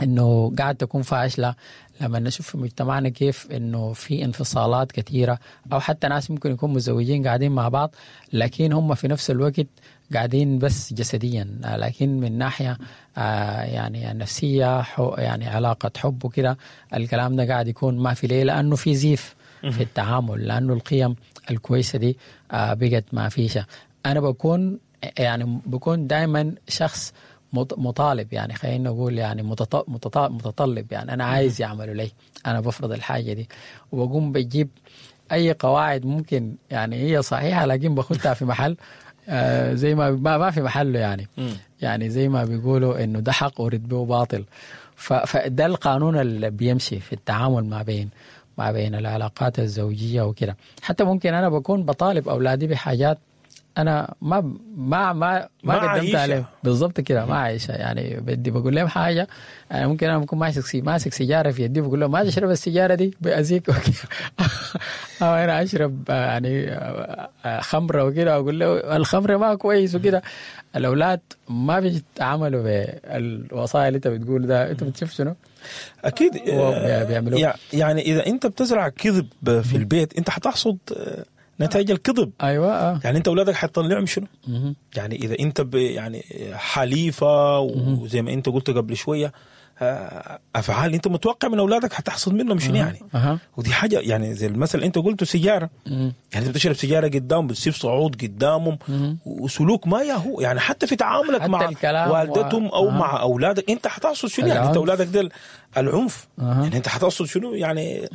انه قاعد تكون فاشلة لما نشوف في مجتمعنا كيف انه في انفصالات كثيرة، او حتى ناس ممكن يكونوا متزوجين قاعدين مع بعض لكن هم في نفس الوقت قاعدين بس جسديا، لكن من ناحية يعني النفسية، يعني علاقة حب وكده، الكلام ده قاعد يكون ما في. ليه؟ لانه في زيف في التعامل، لانه القيم الكويسة دي بقت ما فيشة. انا بكون يعني بكون دائما شخص مطالب، يعني خلينا نقول يعني متطلب، يعني انا عايز يعملوا لي، انا بفرض الحاجة دي وبقوم بجيب اي قواعد ممكن يعني هي صحيحه لكن باخدها في محل زي ما في محله، يعني يعني زي ما بيقولوا انه ده حق ورد به باطل. فده القانون اللي بيمشي في التعامل ما بين العلاقات الزوجية وكده. حتى ممكن انا بكون بطالب اولادي بحاجات انا ما قدمت عليهم بالضبط كده، ما عايشه. يعني بدي بقول لهم حاجة، يعني ممكن انا بكون ماسك سيجارة في يدي، بقول لهم ما تشرب السيجارة دي بأذيك، او انا اشرب يعني خمره وكده، اقول له الخمرة ما كويس وكده. الاولاد ما بيتعاملوا بالوصايا اللي انت بتقول ده. انت بتشوف شنو؟ اكيد. بيعملوا. يعني اذا انت بتزرع كذب في البيت، انت حتحصد نتائج الكذب. ايوه. يعني انت اولادك حتطلعهم شنو؟ يعني اذا انت يعني حليفة، وزي ما انت قلت قبل شوية افعال انت متوقع من اولادك، حتحصد منهم شنو يعني؟ ودي حاجة يعني زي المثل انت قلته، سيجاره، يعني انت بتشرب سيجارة قدامهم، بتسيب صعود قدامهم، وسلوك ما ياهو، يعني حتى في تعاملك حتى مع الكلام والدتهم او مع اولادك، انت حتحصد شنو يعني؟ انت اولادك ديل العنف، يعني انت حتحصد شنو يعني؟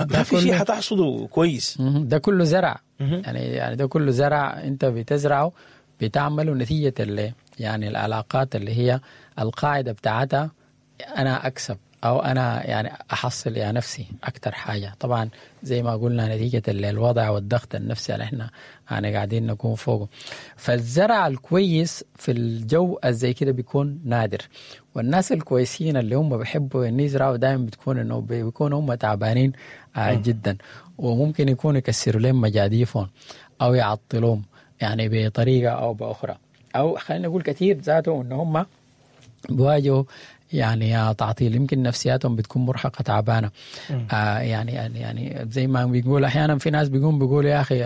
ما في شيء حتحصده كويس. ده كله زرع، يعني ده كله زرع انت بتزرعه، بتعمله نتيجة اللي يعني العلاقات اللي هي القاعدة بتاعتها انا اكسب او انا يعني احصل يا نفسي اكثر حاجه. طبعا زي ما قلنا نتيجة الوضع والضغط النفسي اللي احنا يعني قاعدين نكون فوقه. فالزرع الكويس في الجو الزي كده بيكون نادر، والناس الكويسين اللي هم بيحبوا ان يزرعوا دائما بتكون انه بيكونوا هم تعبانين جدا، وممكن يكونوا يكسروا لهم مجاديفهم او يعطلوهم يعني بطريقة او باخرى، او خلينا نقول كثير ذاته ان هم بيواجهوا يعني تعطيل، يمكن نفسياتهم بتكون مرهقة تعبانه. يعني زي ما بيقول احيانا في ناس بيقوم بيقولوا يا اخي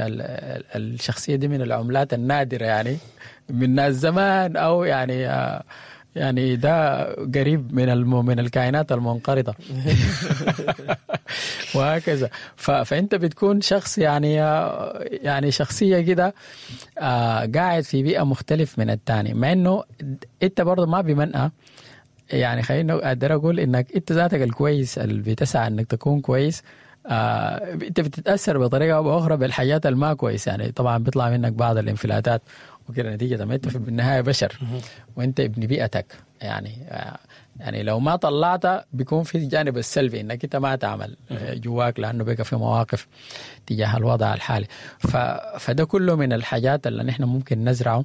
الشخصية دي من العملات النادرة، يعني من ناس زمان، او يعني ده قريب من الكائنات المنقرضه وهكذا. فانت بتكون شخص يعني شخصية كده قاعد في بيئة مختلف من الثاني، مع انه انت برضه ما بمنأى، يعني خلينا اقدر اقول انك انت ذاتك الكويس اللي بتسعى انك تكون كويس، انت بتتاثر بطريقة او باخرى بالحاجات الما كويس. يعني طبعا بيطلع منك بعض الانفلاتات وكده نتيجة ما انت في النهاية بشر وانت ابن بيئتك. يعني لو ما طلعت بيكون في الجانب السلبي انك انت ما تعمل جواك، لانه بقى في مواقف تجاه الوضع الحالي. فده كله من الحاجات اللي نحن ممكن نزرعه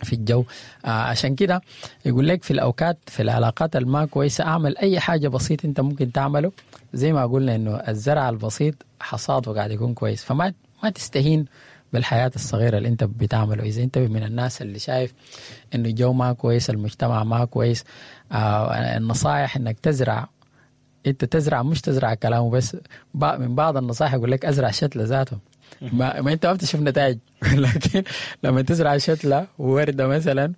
في الجو. عشان كده يقول لك في الاوقات في العلاقات الما كويسة اعمل اي حاجة بسيط انت ممكن تعمله، زي ما قلنا انه الزرع البسيط حصاده قاعد يكون كويس. فما ما تستهين بالحياة الصغيرة اللي انت بتعمله. اذا انت من الناس اللي شايف انه الجو ما كويس، المجتمع ما كويس، النصائح انك تزرع، انت تزرع، مش تزرع كلامه بس. من بعض النصائح يقول لك ازرع شتلة ذاته، ما انت ما بتشوف نتائج، لكن لما تزرع شتلة وردة مثلا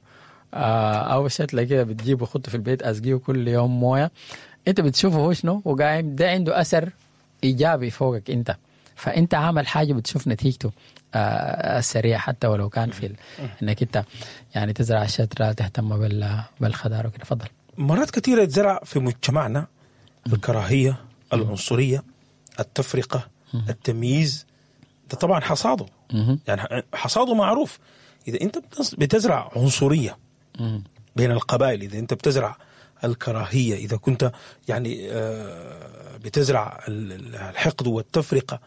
او شتلة كده بتجيبه خطه في البيت، اسقيه كل يوم مويه، انت بتشوفه هو شنو وقايم، ده عنده اثر ايجابي فوقك انت. فانت عامل حاجة بتشوف نتيجته السريع، حتى ولو كان في انك انت يعني تزرع الشتله، تهتم بالخضار وكده. تفضل. مرات كثيرة يتزرع في مجتمعنا الكراهية، العنصرية، التفرقة، التمييز. ده طبعا حصاده يعني حصاده معروف. إذا أنت بتزرع عنصرية بين القبائل، إذا أنت بتزرع الكراهية، إذا كنت يعني بتزرع الحقد والتفرقة،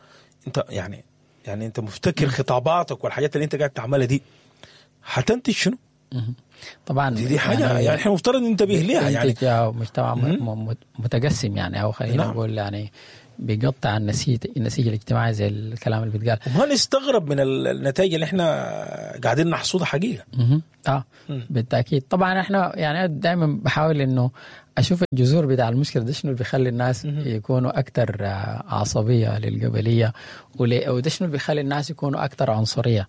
أنت يعني أنت مفتكر خطاباتك والحاجات اللي أنت قاعد تعملها دي حتنتج شنو؟ طبعا. دي حاجة يعني احنا مفترض ننتبه لها يعني. مجتمع متقسم يعني، او خلينا نقول يعني بيقطع النسيج الاجتماعي زي الكلام اللي بيتقال. وما نستغرب من النتائج اللي احنا قاعدين نحصدها حقيقه. اه بالتاكيد. طبعا احنا يعني دائما بحاول انه اشوف الجذور بتاع المشكلة ده شنو اللي بيخلي الناس يكونوا اكثر عصبية للقبليه، وده شنو اللي بيخلي الناس يكونوا اكثر عنصرية.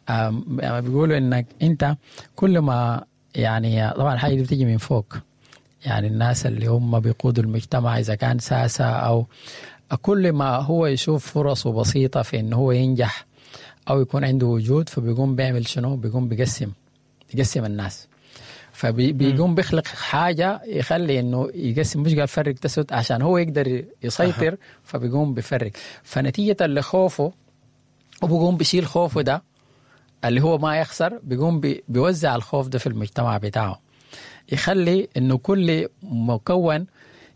يعني بيقولوا انك انت كل ما يعني طبعا الحاجة دي بتيجي من فوق، يعني الناس اللي هم بيقودوا المجتمع اذا كان ساسه او كل ما هو يشوف فرصة بسيطة في انه هو ينجح او يكون عنده وجود، فبيقوم بيعمل شنو؟ بيقوم بيقسم الناس، فبيقوم بيخلق حاجة يخلي انه يقسم، مش قال فرق تسد عشان هو يقدر يسيطر، فبيقوم بفرق، فنتيجة لخوفه وبيقوم بيشيل خوفه ده اللي هو ما يخسر، بيقوم بيوزع الخوف ده في المجتمع بتاعه، يخلي انه كل مكون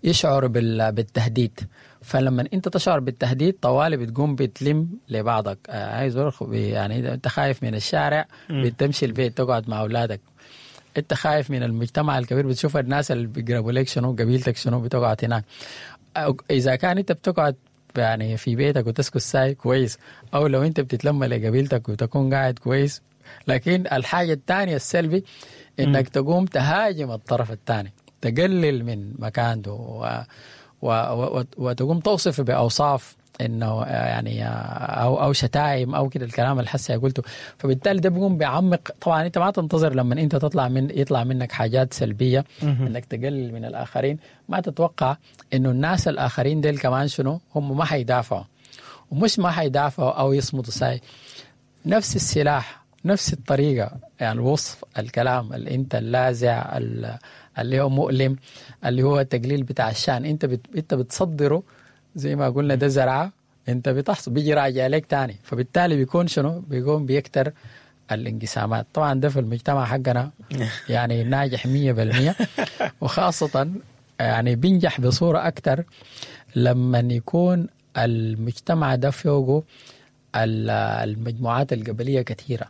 يشعر بالتهديد. فلما انت تشعر بالتهديد طوالي بتقوم بتلم لبعضك، عايز يعني انت خايف من الشارع بتمشي البيت تقعد مع اولادك، انت خايف من المجتمع الكبير بتشوف الناس اللي بيقربوا لك شنو، قبيلتك شنو، بتقعد هناك. اذا كان انت بتقعد يعني في بيتك وتسكت ساي كويس، او لو انت بتتلم لقبيلتك وتكون قاعد كويس. لكن الحاجة الثانية السلبي انك تقوم تهاجم الطرف الثاني، تقلل من مكانته وتقوم توصف باوصاف انه يعني او شتائم او كده الكلام اللي حسي قلته. فبالتالي ده بيقوم بيعمق. طبعا انت ما تنتظر لما انت يطلع منك حاجات سلبية انك تقلل من الاخرين، ما تتوقع انه الناس الاخرين ديل كمان شنو هم ما حيدافعوا، ومش ما حيدافعوا او يصمتوا ساي، نفس السلاح نفس الطريقة، يعني الوصف الكلام اللي انت اللاذع اللي هو مؤلم اللي هو التقليل بتاع الشان، انت بتصدره زي ما قلنا ده زرعه انت بتحصل بيجي راجع لك تاني، فبالتالي بيكون شنو؟ بيكون بيكتر الانقسامات. طبعا ده في المجتمع حقنا يعني ناجح 100%، وخاصة يعني بينجح بصورة أكتر لما يكون المجتمع ده فوقه المجموعات القبلية كثيرة.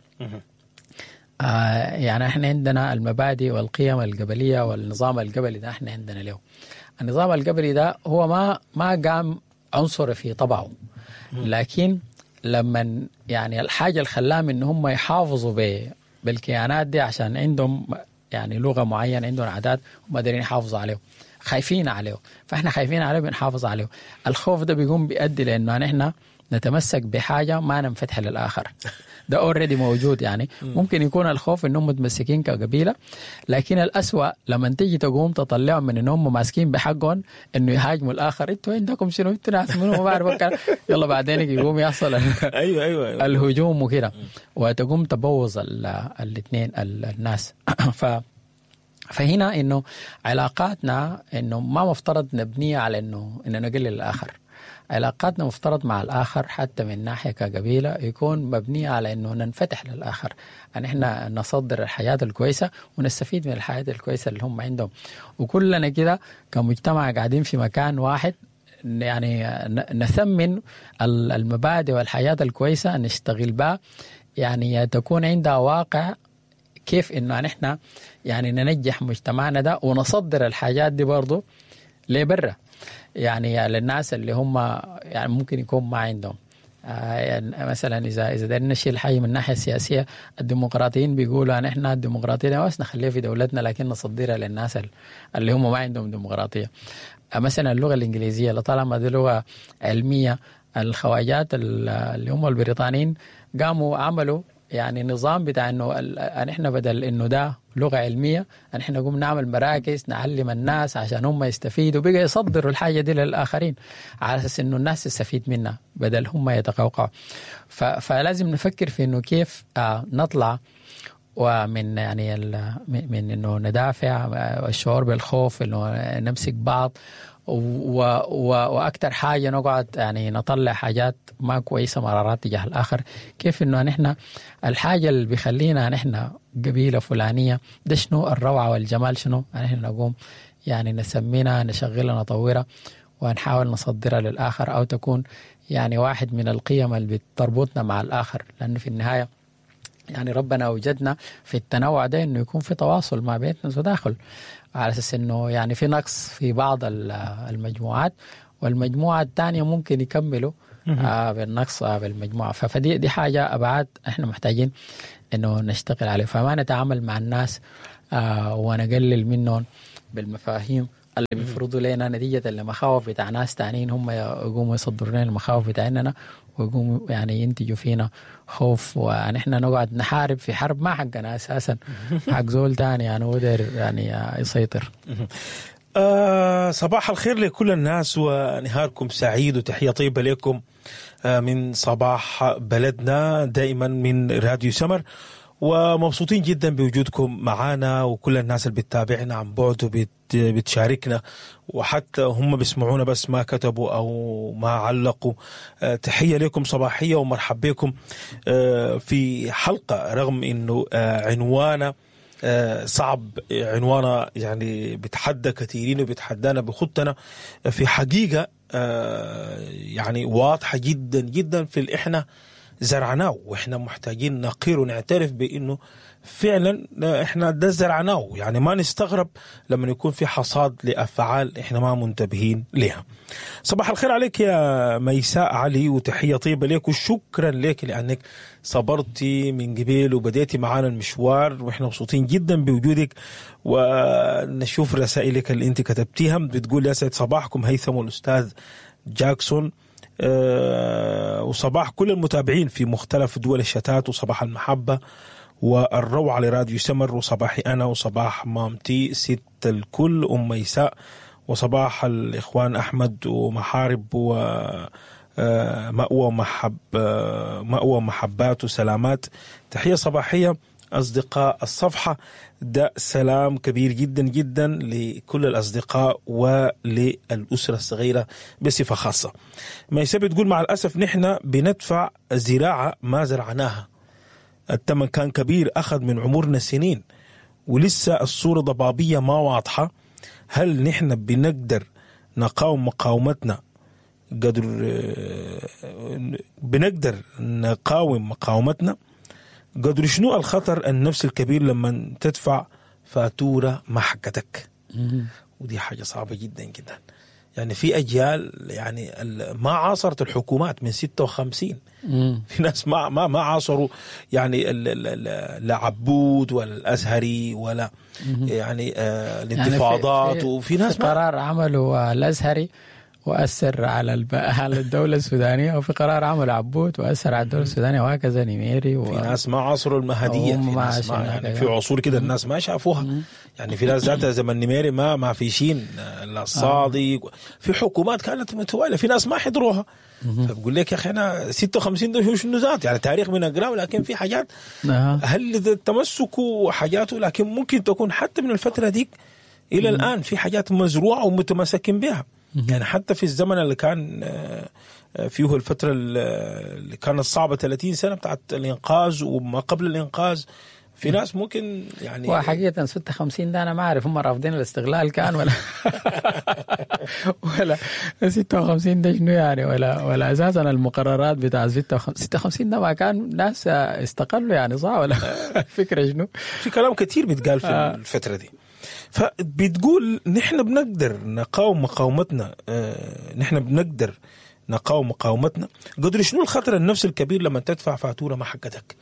يعني احنا عندنا المبادئ والقيم القبلية والنظام القبلي ده، احنا عندنا له النظام القبلي ده هو ما قام عنصري في طبعه، لكن لما يعني الحاجة اللي خلاهم ان هم يحافظوا بالكيانات دي عشان عندهم يعني لغة معينة، عندهم عادات هم قادرين يحافظوا عليه، خايفين عليه، فاحنا خايفين عليه بنحافظ عليه. الخوف ده بيقوم بيؤدي لانه نحن نتمسك بحاجة ما ننفتح للآخر. ده already موجود، يعني ممكن يكون الخوف انهم متمسكين كقبيلة، لكن الأسوأ لما تيجي تقوم تطلعهم من انهم ماسكين بحقهم انه يهاجموا الآخر، انتوا عندكم شنو، انتوا ناس منو، ما بعرف، يلا بعدين يقوم يحصل ايوه الهجوم وكده، وتقوم تبوظ الاثنين الناس. فهنا انه علاقاتنا انه ما مفترض نبنيها على انه نقلل الآخر. علاقاتنا مفترض مع الآخر حتى من ناحية كقبيلة يكون مبنية على أنه ننفتح للآخر، أن إحنا نصدر الحياة الكويسة ونستفيد من الحياة الكويسة اللي هم عندهم، وكلنا كده كمجتمع قاعدين في مكان واحد يعني نثمن المبادئ والحياة الكويسة، نشتغل بها، يعني تكون عندها واقع كيف إنه نحن يعني ننجح مجتمعنا ده ونصدر الحاجات دي برضو لبره، يعني للناس اللي هم يعني ممكن يكون ما عندهم. يعني مثلا اذا دايرين نشيل حاجة من الناحية السياسية، الديمقراطيين بيقولوا ان احنا الديمقراطية بس نخليها في دولتنا لكن نصدرها للناس اللي هم ما عندهم ديمقراطية. مثلا اللغة الانجليزية لطالما دي لغة علمية، الخواجات اللي هم البريطانيين قاموا عملوا يعني نظام بتاع انه احنا بدل انه ده لغة علمية نحن نقوم نعمل مراكز نعلم الناس عشان هم يستفيدوا، بقى يصدروا الحاجة دي للاخرين على اساس انه الناس تستفيد منها بدل هم يتقوقعوا. فلازم نفكر في انه كيف نطلع ومن يعني من انه ندافع الشعور بالخوف، انه نمسك بعض، واكثر حاجة نقعد يعني نطلع حاجات ما كويسة مرارات تجاه الاخر. كيف انه نحن الحاجة اللي بيخلينا نحن قبيلة فلانيه ده شنو الروعة والجمال شنو، نحن نقوم يعني نسمينا نشغلها نطورها ونحاول نصدرها للاخر، او تكون يعني واحد من القيم اللي بتربطنا مع الاخر، لانه في النهاية يعني ربنا وجدنا في التنوع ده انه يكون في تواصل ما بيننا وتداخل، على اساس انه يعني في نقص في بعض المجموعات والمجموعة الثانية ممكن يكملوا بالنقص بالمجموعة. فدي دي حاجة ابعاد احنا محتاجين انه نشتغل عليه، فما نتعامل مع الناس ونقلل منهم بالمفاهيم اللي بيفرضوا لنا نتيجة لمخاوف بتاع ناس تانيين، هم يقوموا يصدروا لنا المخاوف بتاعنا ويقوموا يعني ينتجوا فينا خوف، ونحن نقعد نحارب في حرب ما حقنا أساسا، حق زول تاني يعني هو داير يعني يسيطر. صباح الخير لكل الناس ونهاركم سعيد، وتحية طيبة لكم من صباح بلدنا دائما من راديو سمر، ومبسوطين جدا بوجودكم معانا وكل الناس اللي بتتابعنا عن بعد وبتشاركنا، وحتى هم بيسمعونا بس ما كتبوا أو ما علقوا. تحية لكم صباحية ومرحب بكم في حلقة رغم أنه عنوانها صعب، عنوانها يعني بتحدى كثيرين وبتحدانا بخطنا في حقيقة يعني واضحة جدا جدا في اللي احنا زرعناه، واحنا محتاجين نقير ونعترف بانه فعلا احنا ده زرعناه. يعني ما نستغرب لما يكون في حصاد لافعال احنا ما منتبهين لها. صباح الخير عليك يا ميساء علي، وتحية طيبة لك وشكرا لك لانك صبرتي من قبل وبديتي معانا المشوار، واحنا مبسوطين جدا بوجودك. ونشوف رسائلك اللي انت كتبتيها. بتقول يا سعد صباحكم هيثم والاستاذ جاكسون، وصباح كل المتابعين في مختلف دول الشتات، وصباح المحبة والروعة لراديو سمر، وصباحي أنا وصباح مامتي ست الكل أم ميساء، وصباح الإخوان أحمد ومحارب ومأوى مأوى محبات وسلامات. تحية صباحية أصدقاء الصفحة، ده سلام كبير جدا جدا لكل الأصدقاء وللأسرة الصغيرة بصفة خاصة. ميساء بتقول مع الأسف نحن بندفع زراعة ما زرعناها، الثمن كان كبير، أخذ من عمرنا سنين ولسه الصورة ضبابية ما واضحة. هل نحن بنقدر نقاوم مقاومتنا قدر بنقدر نقاوم مقاومتنا قدر شنو الخطر النفسي الكبير لما تدفع فاتورة ما حقتك؟ ودي حاجة صعبة جدا جدا. يعني في أجيال يعني ما عاصرت الحكومات من 56، في ناس ما عاصروا يعني لا عبود ولا الأزهري ولا يعني الانتفاضات، يعني وفي ناس في قرار عملوا الأزهري وأثر على على الدولة السودانية، وفي قرار عمل عبود وأثر على الدولة السودانية، وهكذا نميري في ناس ما عاصروا المهدية، في ناس ما يعني في عصور كده الناس ما شافوها. يعني في ناس ذاتها زمن نميري ما فيشين لا الصادق، في حكومات كانت متوالية في ناس ما حضروها. فبقول لك يا أخي أنا 56 ده شنو ذات يعني تاريخ من أقراه، لكن في حاجات هل تمسكوا حاجاته، لكن ممكن تكون حتى من الفترة ديك إلى الآن في حاجات مزروعة ومتمسكين بها. يعني حتى في الزمن اللي كان فيه الفترة اللي كانت صعبة 30 سنة بتاعت الإنقاذ وما قبل الإنقاذ، في ناس ممكن يعني وحقيقة 56 ده أنا ما أعرف هم رافضين الاستغلال كان ولا ولا 56 ده شنو يعني، ولا أساسا المقررات بتاع 56 ده ما كان ناس استقلوا يعني، صح ولا فكرة شنو؟ في كلام كتير بيتقال في الفترة دي. فبتقول نحن بنقدر نقاوم مقاومتنا، نحن بنقدر نقاوم مقاومتنا قدر شنو الخطر النفسي الكبير لما تدفع فاتورة ما حقتك.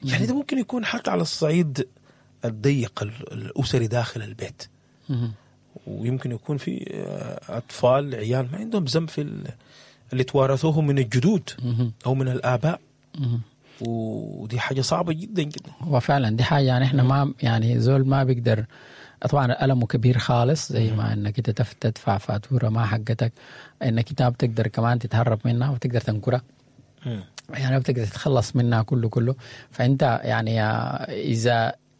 يعني ده ممكن يكون حتى على الصعيد الضيق الأسري داخل البيت، ويمكن يكون في أطفال عيال ما عندهم ذنب في اللي توارثوه من الجدود أو من الآباء، ودي حاجة صعبة جدا جدا. وفعلا دي حاجة يعني احنا ما يعني زول ما بيقدر، طبعا ألمه كبير خالص زي ما انك انت تدفع فاتورة ما حقتك، انك انت بتقدر كمان تتهرب منها وتقدر تنكرها، يعني بتقدر تتخلص منها كله. فانت يعني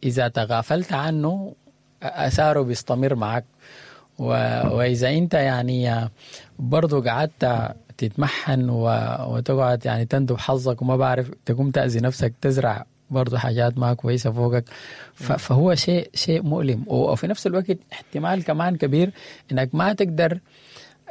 اذا تغافلت عنه اثاره بيستمر معك، واذا انت يعني برضو قعدت تتمحن وتقعد يعني تندب حظك وما بعرف تقوم تأذي نفسك، تزرع برضو حاجات ما كويسة فوقك. فهو شيء مؤلم، وفي نفس الوقت احتمال كمان كبير انك ما تقدر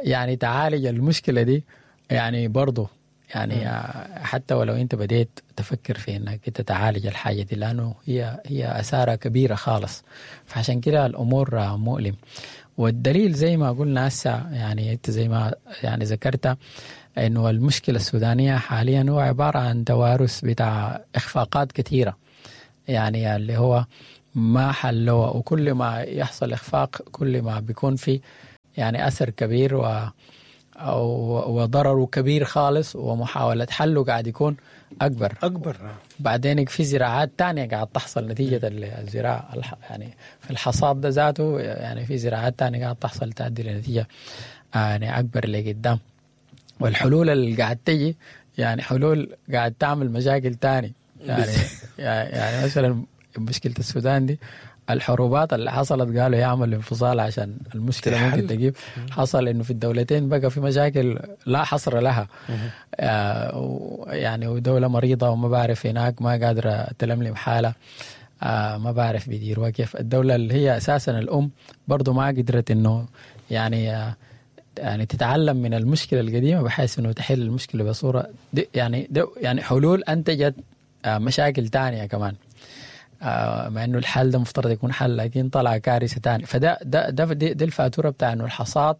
يعني تعالج المشكلة دي يعني برضو يعني حتى ولو انت بديت تفكر في انك انت تعالج الحاجة دي، لانه هي اثارها كبيرة خالص. فعشان كده الامور مؤلم. والدليل زي ما قلنا هسه يعني انت زي ما يعني ذكرت انه المشكلة السودانية حاليا هو عبارة عن توارث بتاع اخفاقات كثيرة، يعني اللي هو ما حلوها، وكل ما يحصل إخفاق كل ما بيكون في يعني أثر كبير وضرره كبير خالص، ومحاولة حله قاعد يكون أكبر أكبر. بعدين في زراعات تانية قاعد تحصل نتيجة الزراعة يعني في الحصاد ده ذاته، يعني في زراعات تانية قاعد تحصل تؤدي لنتيجة يعني أكبر لقدام. والحلول اللي قاعد تجي يعني حلول قاعد تعمل مشاكل تاني يعني مثلا مشكلة السودان دي، الحروبات اللي حصلت قالوا يعمل انفصال عشان المشكلة ممكن تجيب، حصل انه في الدولتين بقى في مشاكل لا حصر لها، يعني ودولة مريضة وما بعرف هناك ما قادرة تلملم حالة، ما بعرف بيديروها كيف. الدولة اللي هي اساسا الام برضو ما قدرت انه يعني تتعلم من المشكلة القديمة بحيث انه تحل المشكلة بصورة دي يعني دي يعني حلول انتجت مشاكل تانية كمان، مع انه الحل ده مفترض يكون حل لكن طلع كارثة تانية. فده ده ده دي الفاتورة بتاع انه الحصاد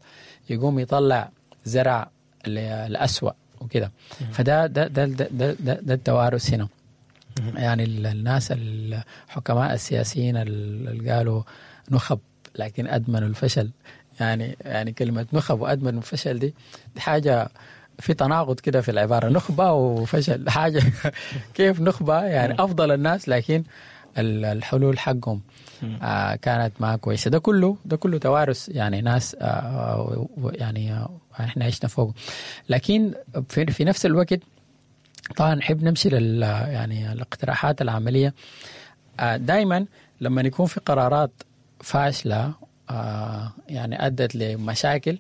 يقوم يطلع زرع الأسوأ وكده. فده ده ده ده ده, ده, ده التوارث هنا. يعني الناس الحكماء السياسيين اللي قالوا نخب لكن أدمنوا الفشل، يعني كلمة نخب وأدمنوا الفشل دي حاجة في تناقض كده في العبارة، نخبة وفشل حاجة كيف نخبة يعني أفضل الناس لكن الحلول حقهم كانت ما كويسة. ده كله توارث يعني ناس يعني احنا عشنا فوق. لكن في نفس الوقت طبعا نحب نمشي لل يعني الاقتراحات العملية. دائما لما يكون في قرارات فاشلة يعني أدت لمشاكل،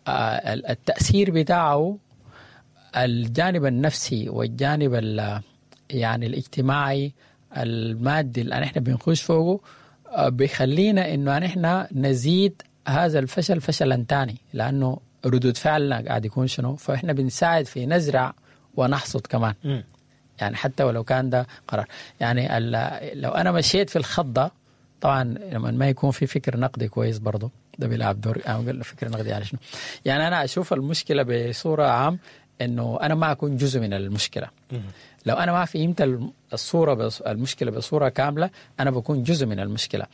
التأثير بتاعه الجانب النفسي والجانب يعني الاجتماعي المادي اللي احنا بنخش فوقه بيخلينا انه احنا نزيد هذا الفشل فشلا تاني، لانه ردود فعلنا قاعد يكون شنو، فاحنا بنساعد في نزرع ونحصد كمان. يعني حتى ولو كان ده قرار، يعني لو انا مشيت في الخط ده، طبعا لما ما يكون في فكر نقدي كويس برضه ده بيلعب دور. انا فكر نقدي يعني شنو؟ يعني انا اشوف المشكلة بصورة عام انه انا ما اكون جزء من المشكلة. لو انا ما فهمت الصورة المشكلة بصورة كاملة انا بكون جزء من المشكلة.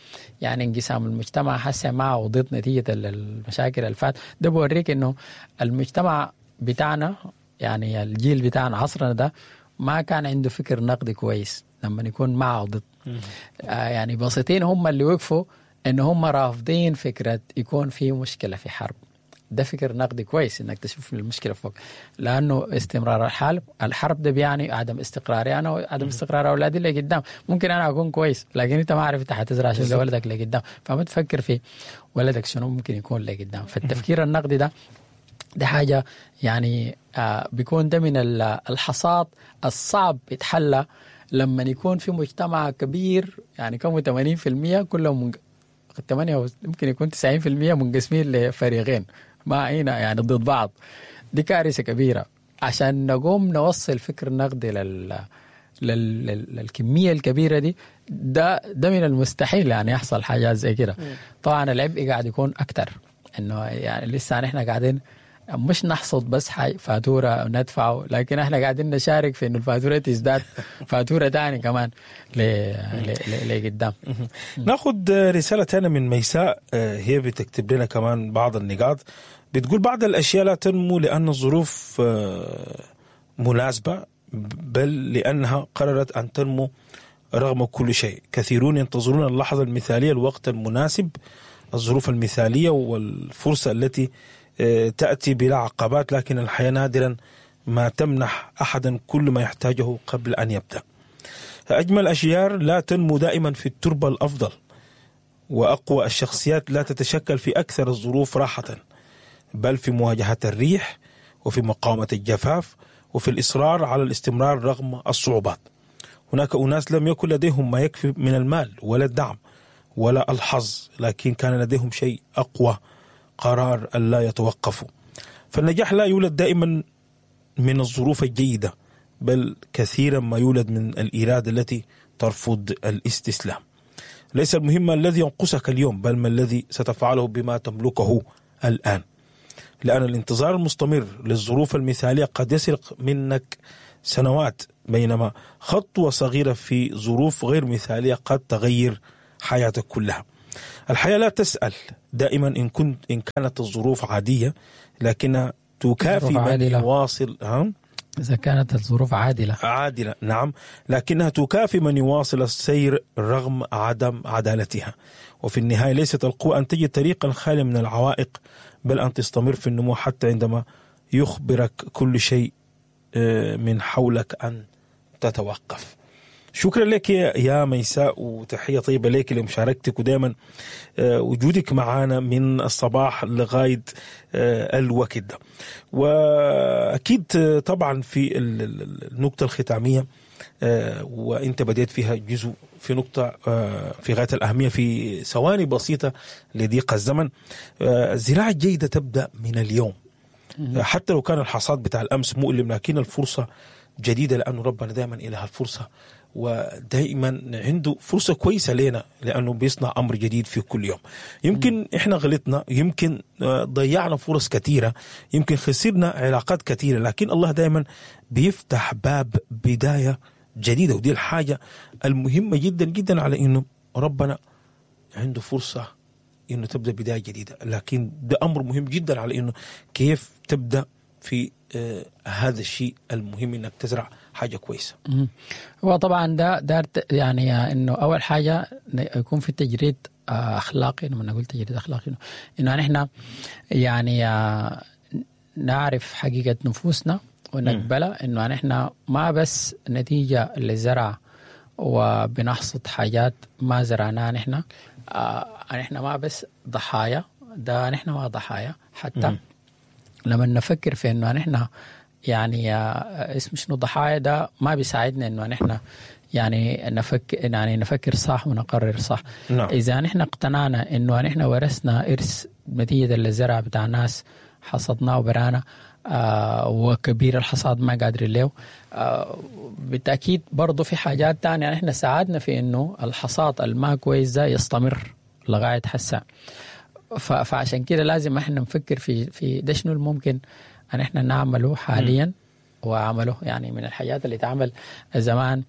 يعني انقسام المجتمع هسه مع وضد نتيجة المشاكل الفات ده بوريك انه المجتمع بتاعنا يعني الجيل بتاعنا عصرنا ده ما كان عنده فكر نقدي كويس لما يكون مع وضد. يعني بسيطين هم اللي وقفوا ان هم رافضين فكرة يكون في مشكلة في حرب. ده فكر نقدي كويس انك تشوف المشكلة فوق، لانه استمرار الحرب ده بيعني عدم استقراري انا وعدم استقرار اولادي اللي قدام. ممكن انا اكون كويس لكن انت ما عارف انت حتزرع شنو لولدك اللي قدام، فما تفكر في ولدك شنو ممكن يكون اللي قدام. فالتفكير النقدي ده حاجة يعني بيكون ده من الحصاد الصعب يتحلى لما يكون في مجتمع كبير، يعني كم 80% كلهم 8 ممكن يكون 90% منقسمين لفريقين ما هنا يعني ضد بعض. دي كارثة كبيرة. عشان نقوم نوصل فكر نقدي للكمية الكبيرة دي، ده من المستحيل يعني يحصل حاجات زي كده. طبعا العبء قاعد يكون أكتر، إنه يعني لسه نحن قاعدين مش نحصد بس فاتورة ندفعه، لكن احنا قاعدين نشارك في انه الفاتورة تزداد فاتورة تاني كمان لقدام. ناخد رسالة تانية من ميساء، هي بتكتب لنا كمان بعض النقاط. بتقول بعض الأشياء لا تنمو لأن الظروف مناسبة، بل لأنها قررت أن تنمو رغم كل شيء. كثيرون ينتظرون اللحظة المثالية، الوقت المناسب، الظروف المثالية والفرصة التي تأتي بلا عقبات، لكن الحياة نادرا ما تمنح أحدا كل ما يحتاجه قبل أن يبدأ. أجمل أشجار لا تنمو دائما في التربة الأفضل، وأقوى الشخصيات لا تتشكل في أكثر الظروف راحة، بل في مواجهة الريح وفي مقاومة الجفاف وفي الإصرار على الاستمرار رغم الصعوبات. هناك أناس لم يكن لديهم ما يكفي من المال ولا الدعم ولا الحظ، لكن كان لديهم شيء أقوى، قرار ألا يتوقفوا. فالنجاح لا يولد دائما من الظروف الجيدة، بل كثيرا ما يولد من الإرادة التي ترفض الاستسلام. ليس المهم الذي ينقصك اليوم، بل ما الذي ستفعله بما تملكه الآن، لأن الانتظار المستمر للظروف المثالية قد يسرق منك سنوات بينما خطوة صغيرة في ظروف غير مثالية قد تغير حياتك كلها. الحياة لا تسأل دائما إن كانت الظروف عادية، لكنها تكافي من يواصل. إذا كانت الظروف عادلة. عادلة، نعم، لكنها تكافي من يواصل السير رغم عدم عدالتها. وفي النهاية ليست القوة أن تجد طريقا خالي من العوائق، بل أن تستمر في النمو حتى عندما يخبرك كل شيء من حولك أن تتوقف. شكرا لك يا ميساء، وتحية طيبة لك لمشاركتك ودائما وجودك معنا من الصباح لغاية الوقت ده. وأكيد طبعا في النقطة الختامية وانت بديت فيها جزء في نقطة في غاية الأهمية في ثواني بسيطة لضيق الزمن. الزراعة الجيدة تبدأ من اليوم، حتى لو كان الحصاد بتاع الأمس مؤلم، لكن الفرصة جديدة، لأنه ربنا دائما إله الفرصة، ودائما عنده فرصة كويسة لنا، لأنه بيصنع أمر جديد في كل يوم. يمكن إحنا غلطنا، يمكن ضيعنا فرص كثيرة، يمكن خسرنا علاقات كثيرة، لكن الله دائما بيفتح باب بداية جديدة. ودي الحاجة المهمة جدا جدا، على إنه ربنا عنده فرصة إنه تبدأ بداية جديدة، لكن ده أمر مهم جدا على إنه كيف تبدأ في هذا الشيء المهم، إنك تزرع حاجة كويسة. هو طبعا ده يعني إنه أول حاجة يكون في تجريد أخلاقي. لما نقول تجريد أخلاقي إنه نحن يعني نعرف حقيقة نفوسنا ونقبلها، إنه نحن ما بس نتيجة لزرع وبنحصد حاجات ما زرعناها نحن، نحن ما بس ضحايا، ده نحن ما ضحايا. حتى لما نفكر في إنه نحن يعني اسم شنو ضحايا، ده ما بيساعدنا إنه نحن يعني نفكر صح ونقرر صح. نعم. إذا نحن اقتنعنا إنه نحن ورثنا إرث نتيجة للزرع بتاع ناس حصدناه وبرانا، وكبير الحصاد ما قادرين له، بالتأكيد برضو في حاجات تانية نحن ساعدنا في إنه الحصاد الما كويس ده يستمر لغاية حسا. فعشان كده لازم احنا نفكر في ده شنو الممكن ان احنا نعمله حاليا وعمله. يعني من الحاجات اللي تعمل زمان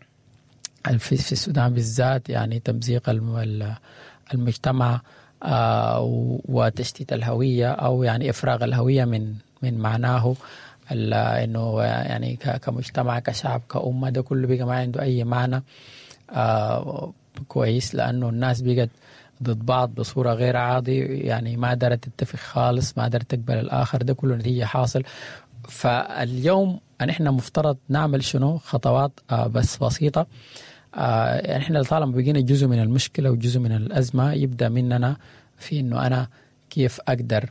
في السودان بالذات، يعني تمزيق المجتمع وتشتيت الهوية، او يعني افراغ الهوية من معناه انه يعني كمجتمع كشعب كأمة، ده كله بقى ما عنده اي معنى كويس، لانه الناس بقت ضد بعض بصورة غير عادي، يعني ما قدرت تتفق خالص، ما قدرت تقبل الآخر، ده كله نتيجة حاصل. فاليوم نحن مفترض نعمل شنو؟ خطوات بس بسيطة. نحن طالما بقينا جزء من المشكلة وجزء من الأزمة، يبدأ مننا في إنه أنا كيف أقدر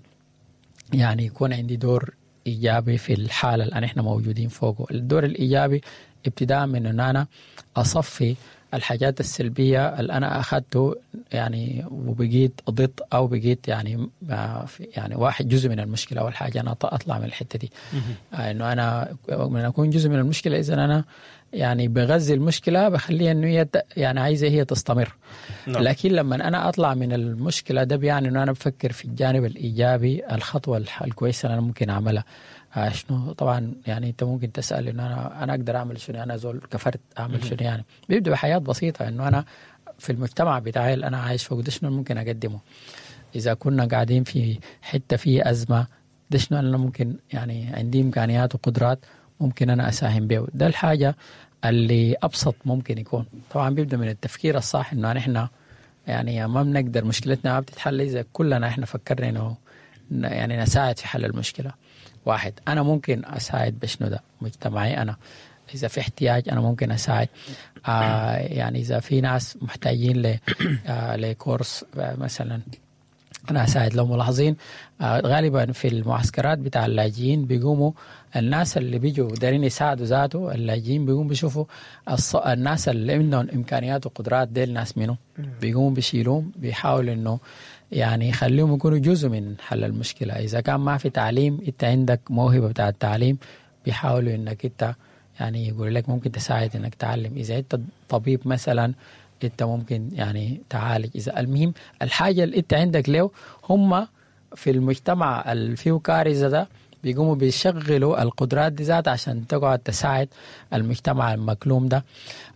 يعني يكون عندي دور إيجابي في الحالة اللي نحن موجودين فوقه. الدور الإيجابي ابتداء من إنه أنا أصفي الحاجات السلبية اللي أنا أخذته يعني وبقيت ضد، أو بقيت يعني واحد جزء من المشكلة. أول حاجة أنا أطلع من الحتة دي، إنه أنا من أكون جزء من المشكلة، إذن أنا يعني بغذي المشكلة، بخليها إنه هي يعني عايزة هي تستمر. نعم. لكن لما أنا أطلع من المشكلة ده بيعني إنه أنا بفكر في الجانب الإيجابي، الخطوة الكويسة اللي أنا ممكن أعملها شنو. طبعا يعني أنت ممكن تسأل إنه أنا أقدر أعمل شنو، أنا زول كفرت أعمل شنو. يعني بيبدأ بحياة بسيطة، إنه أنا في المجتمع بتاعي اللي أنا عايش فوق ده شنو ممكن أقدمه. إذا كنا قاعدين في حتة فيه أزمة، ده شنو أنا ممكن يعني عندي إمكانيات وقدرات ممكن أنا أساهم به. ده الحاجة اللي أبسط ممكن يكون. طبعا بيبدأ من التفكير الصح، إنه نحن يعني ما بنقدر، مشكلتنا ما بتتحل إذا كلنا إحنا فكرنا إنه يعني نساعد في حل المشكلة. واحد، أنا ممكن أساعد بشنو ده مجتمعي، أنا إذا في احتياج أنا ممكن أساعد. يعني إذا في ناس محتاجين لكورس مثلا أنا أساعد. لو ملاحظين غالبا في المعسكرات بتاع اللاجئين بيقوموا الناس اللي بيجوا دارين يساعدوا ذاته اللاجئين، بيقوموا بيشوفوا الناس اللي عندهم إمكانيات وقدرات ديل ناس منه، بيقوموا بيشيلوهم، بيحاولوا إنه يعني يخليهم يكونوا جزء من حل المشكلة. إذا كان ما في تعليم، أنت عندك موهبة بتاع التعليم، بيحاولوا إنك أنت يعني يقول لك ممكن تساعد إنك تعلم. إذا أنت طبيب مثلا، أنت ممكن يعني تعالج. إذا المهم الحاجة اللي أنت عندك له، هم في المجتمع اللي فيه كارثة ده بيقوموا بيشغلوا القدرات دي ذات عشان تقعد تساعد المجتمع المكلوم ده،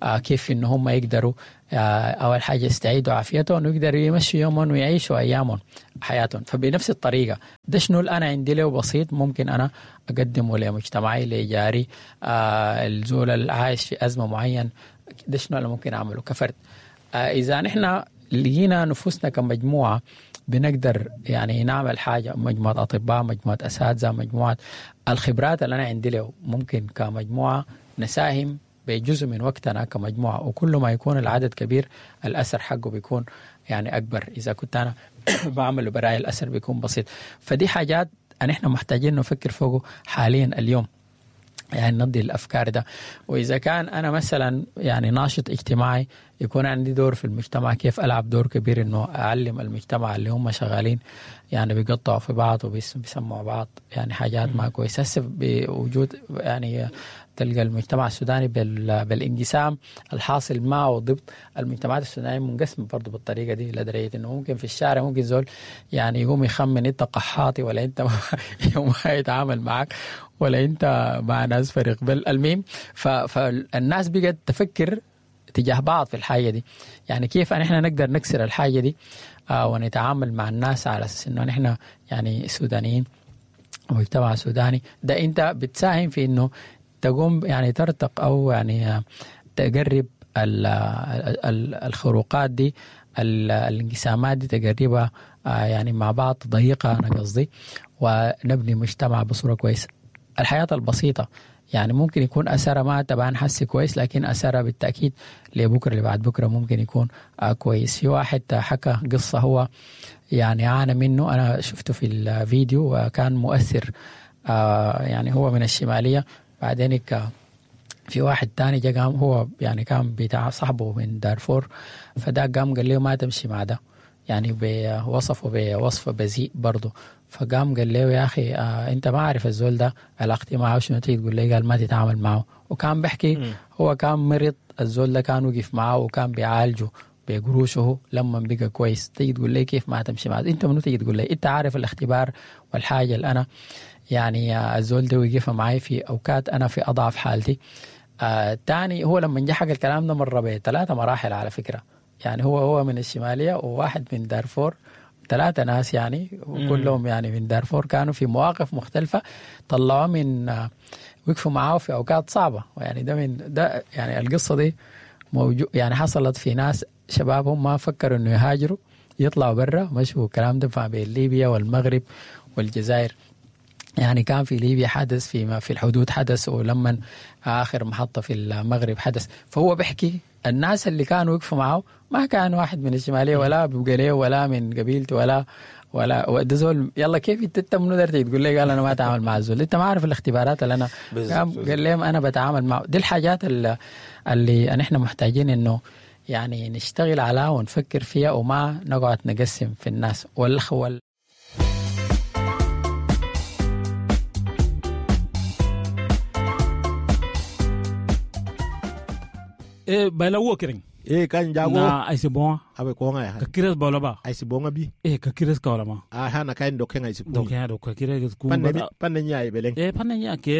كيف إن هم يقدروا أول حاجة يستعيدوا عافيتهم ويقدروا يمشوا يومهم ويعيشوا أيامهم حياتهم. فبنفس الطريقة ده شنو اللي أنا عندي له بسيط ممكن أنا أقدمه لمجتمعي، لجاري، الزول اللي عايش في أزمة معين، ده شنو اللي ممكن أعمله كفرد. إذا نحن لقينا نفوسنا كمجموعة بنقدر يعني نعمل حاجة، مجموعة أطباء، مجموعة أساتذة، مجموعة الخبرات اللي أنا عندي له، ممكن كمجموعة نساهم بجزء من وقتنا كمجموعة، وكل ما يكون العدد كبير الأثر حقه بيكون يعني أكبر. إذا كنت أنا بعمل براي الأثر بيكون بسيط. فدي حاجات نحن محتاجين نفكر فوقه حاليا اليوم، يعني نضي الأفكار ده. وإذا كان أنا مثلا يعني ناشط اجتماعي يكون عندي دور في المجتمع، كيف ألعب دور كبير إنه أعلم المجتمع اللي هم شغالين يعني بيقطعوا في بعض وبيسمعوا بعض يعني حاجات ما كويسة. هسه بوجود يعني تلقى المجتمع السوداني بالانقسام الحاصل معه ضد المجتمعات السودانية منقسمة برضو بالطريقة دي، لدرجة إنه ممكن في الشارع ممكن زول يعني يقوم يخمن أنت قحاطي ولا أنت يوم يتعامل معك ولا أنت مع ناس فريق بل المهم. فالناس بقت تفكر تجاه بعض في الحاجة دي، يعني كيف نحن نقدر نكسر الحاجة دي ونتعامل مع الناس على أساس إنه نحن يعني سودانيين ومجتمع سوداني. ده أنت بتساهم في إنه تقوم يعني ترتق أو يعني تقرب الخروقات دي، الانقسامات دي تقربها يعني مع بعض، تضيقها أنا قصدي، ونبني مجتمع بصورة كويسة. الحياة البسيطة يعني ممكن يكون أثرها ما تبان حسي كويس، لكن أثرها بالتأكيد لبكرة اللي بعد بكرة ممكن يكون كويس. في واحد حكى قصة هو يعني عانى منه، أنا شفته في الفيديو وكان مؤثر، يعني هو من الشمالية. بعدين في واحد تاني جا قام هو يعني كان بتاع صاحبه من دارفور، فده قام قال له ما تمشي مع ده، يعني بوصفه بوصف بذيء برضه. فقام قال له يا أخي أنت ما عارف الزول ده علاقتي معه شنو، تيجي تقول لي قال ما تتعامل معه. وكان بحكي هو كان مرض، الزول ده كان وقف معه وكان بيعالجه بقروشه لما بقى كويس، تيجي تقول لي كيف ما تمشي معه، أنت منو تيجي تقول لي؟ أنت عارف الاختبار والحاجة اللي أنا يعني الزول ده وقف معي في أوقات أنا في أضعف حالتي. تاني هو لما جه حكى الكلام ده مر بثلاثة مراحل على فكرة، يعني هو من الشمالية وواحد من دارفور، 3 ناس يعني وكلهم يعني من دارفور، كانوا في مواقف مختلفة، طلعوا من وقفوا معاه في أوقات صعبة. يعني ده من ده يعني القصة دي موجود، يعني حصلت في ناس شبابهم ما فكروا إنه يهاجروا يطلعوا برا، مشوا الكلام ده بين ليبيا والمغرب والجزائر. يعني كان في ليبيا حدث، في الحدود حدث، ولما آخر محطة في المغرب حدث. فهو بيحكي الناس اللي كانوا وقفوا معه ما كان واحد من الشمالية ولا بقليه ولا من قبيلته ولا ده زول. يلا كيف انت منو درتي تقول لي قال انا ما اتعامل مع الزول، انت ما عارف الاختبارات اللي انا قال لهم انا بتعامل معه. دي الحاجات اللي نحن محتاجين انه يعني نشتغل عليها ونفكر فيها، وما نقعد نقسم في الناس والخوال. Bala wo kering. Kan jago. Na aisi bonga. Abe konga ya. Ka kires bala ba. Aisi bonga bi. Ka kires ka wala ma. Ah ha na kain doken aisi ku. Doken do ka kires ku. Panne nya e beleng. Panne nya ke.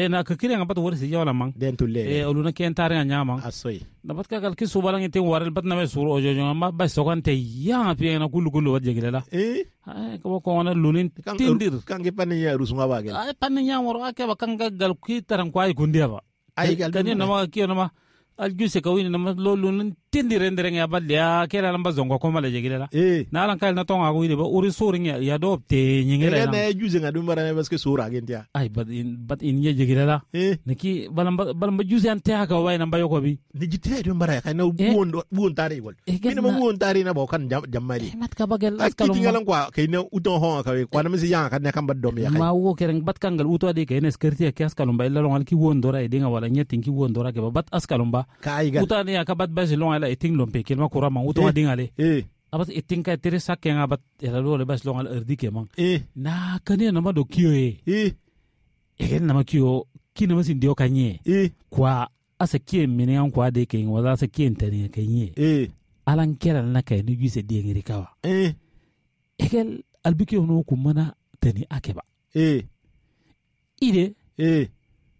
Na ka kires ngapat wor si jawla mang. Den tulle. Oluna ken tare nya mang. Asoy. Na bat ka gal ki subalang ite warel bat na me suru ojo ma ba sokan te ya pi na kulu kulu wat jeglela la. Ka ko na lunin tindir. Kan ke panne nya rusunga ba gel. Ay panne nya wor ake ba kan gal ki taran kwai kundia ba. Ay gal. Kan na ma ki na ma aljuse kawini nama lolun tindi rendere ya balia kela lamba zongo ko mala jegile la na lan kal na tonga ko ba uri suring ya do te nyingela na juse ngadu mara parce que sura gentia ay bat in ye jegile la niki balamba balamba juse ante ha ka way namba yoko bi ni jitire do mara kay na buon buon tari wol ni ma buon tari na bo kan jammari mat ka bagel askalo tingalan kwa kay na uton ho ka kwa na misi yang kan kan bad dom ya kay ma wo kereng bat kangal uto ade kay ne skerti ke askalo ba illa longal ki won dora e dinga wala nyetin ki won dora ke bat askalo ba uta ne akabat basi long ala iting lompe kelma kura mang uto ading ale abat iting ka tere sakke ngabat ela lo le basi long ala erdi ke mang na kane na ma do kiyo e egen na ma kiyo ki na ma sin dio kanye kwa asa kie mene an kwa de ke wala asa kie ntani ke nye alan kera na kay ni gise de ngiri kawa egel albiki ono kumana tani akeba Ide eh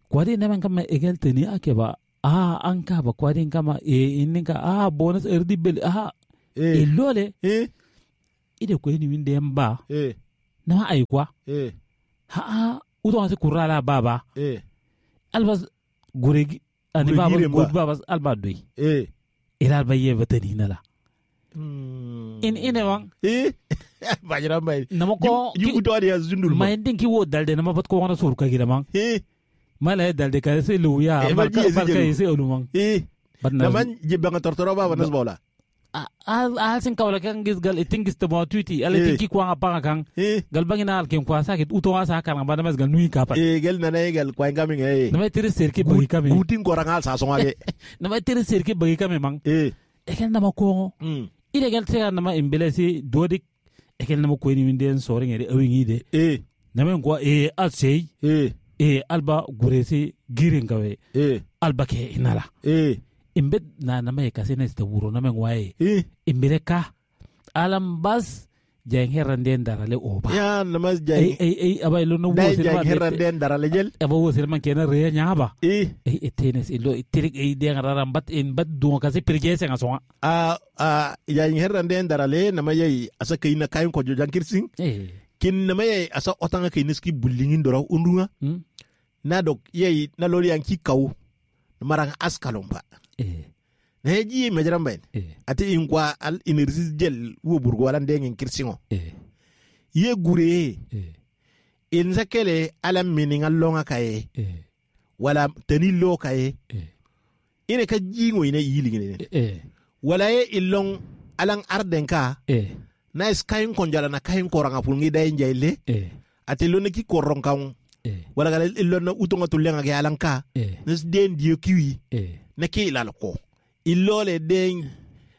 kwadi naman kama egel tani akeba ah anka ba kwadi kama e inninka ah bonus erdi bel ah eh ilole eh ide ko ni winde mba eh nama ay kwa eh ha ha uto ase kurala baba eh albas guregi ani Gure baba giren ba. gud baba alba doy eh ila alba ye batani nala in ine wang eh bajira bay nama ko ju uto adi azundul ma indin ki wo dalde nama bat ko wana sur ka gira mang eh mala dalde ka se luya Eh, balka ba ji balka jelu. se olumang eh bat na naman jibanga tortoro baba nasbola al sin kawla kan gis gal itingis te mo tuiti ala Eh. tinki kwa pa kan eh gal bangina al ken kwa sakit uto asa kan ba namas gal nui kapat eh gel nana gal kwa ngamin eh nama tere serke bagi kame gutin korangal sa songage nama tere serke bagi kame mang eh ekel nama ko ide gal tega nama imbelesi dodik ekel nama ko ni winden soring ere awingi de eh nama ko e al sey eh e alba guresi girin kawe eh alba ke inala eh imbet na nama e kasene ste wuro nama waye eh imbere ka alam bas jeng heranden darale oba ya namas ay jay ay ay abay lo no dai wo jay silma herran den darale jel aba wo silma kena re nyaba eh ay etenes ilo tirik ay de ngararam bat in bat dunga kasi pirje senga songa a a jay herran den darale nama yai asa kayna kayin ko jojan kirsin eh kin nama yai asa otanga kay niski bullingin dora undunga hmm? na dok yai na lori an ki kaw marang askalomba eh na ji majaran bayn eh ate in kwa al energy jel wo burgo wala ndengin kirsingo eh ye gure eh in sakele ala mininga longa kaye eh wala tani lo kaye eh ine ka jingo ine yilingine eh wala ye ilong alang arden ka eh na is kayin konjala na kayin koranga pulngi dayin jaile eh ate lo ne ki koron kan eh wala gala ilon na utonga tulenga ke alang ka eh nes den diyo kiwi eh na ke ilal ko ilole den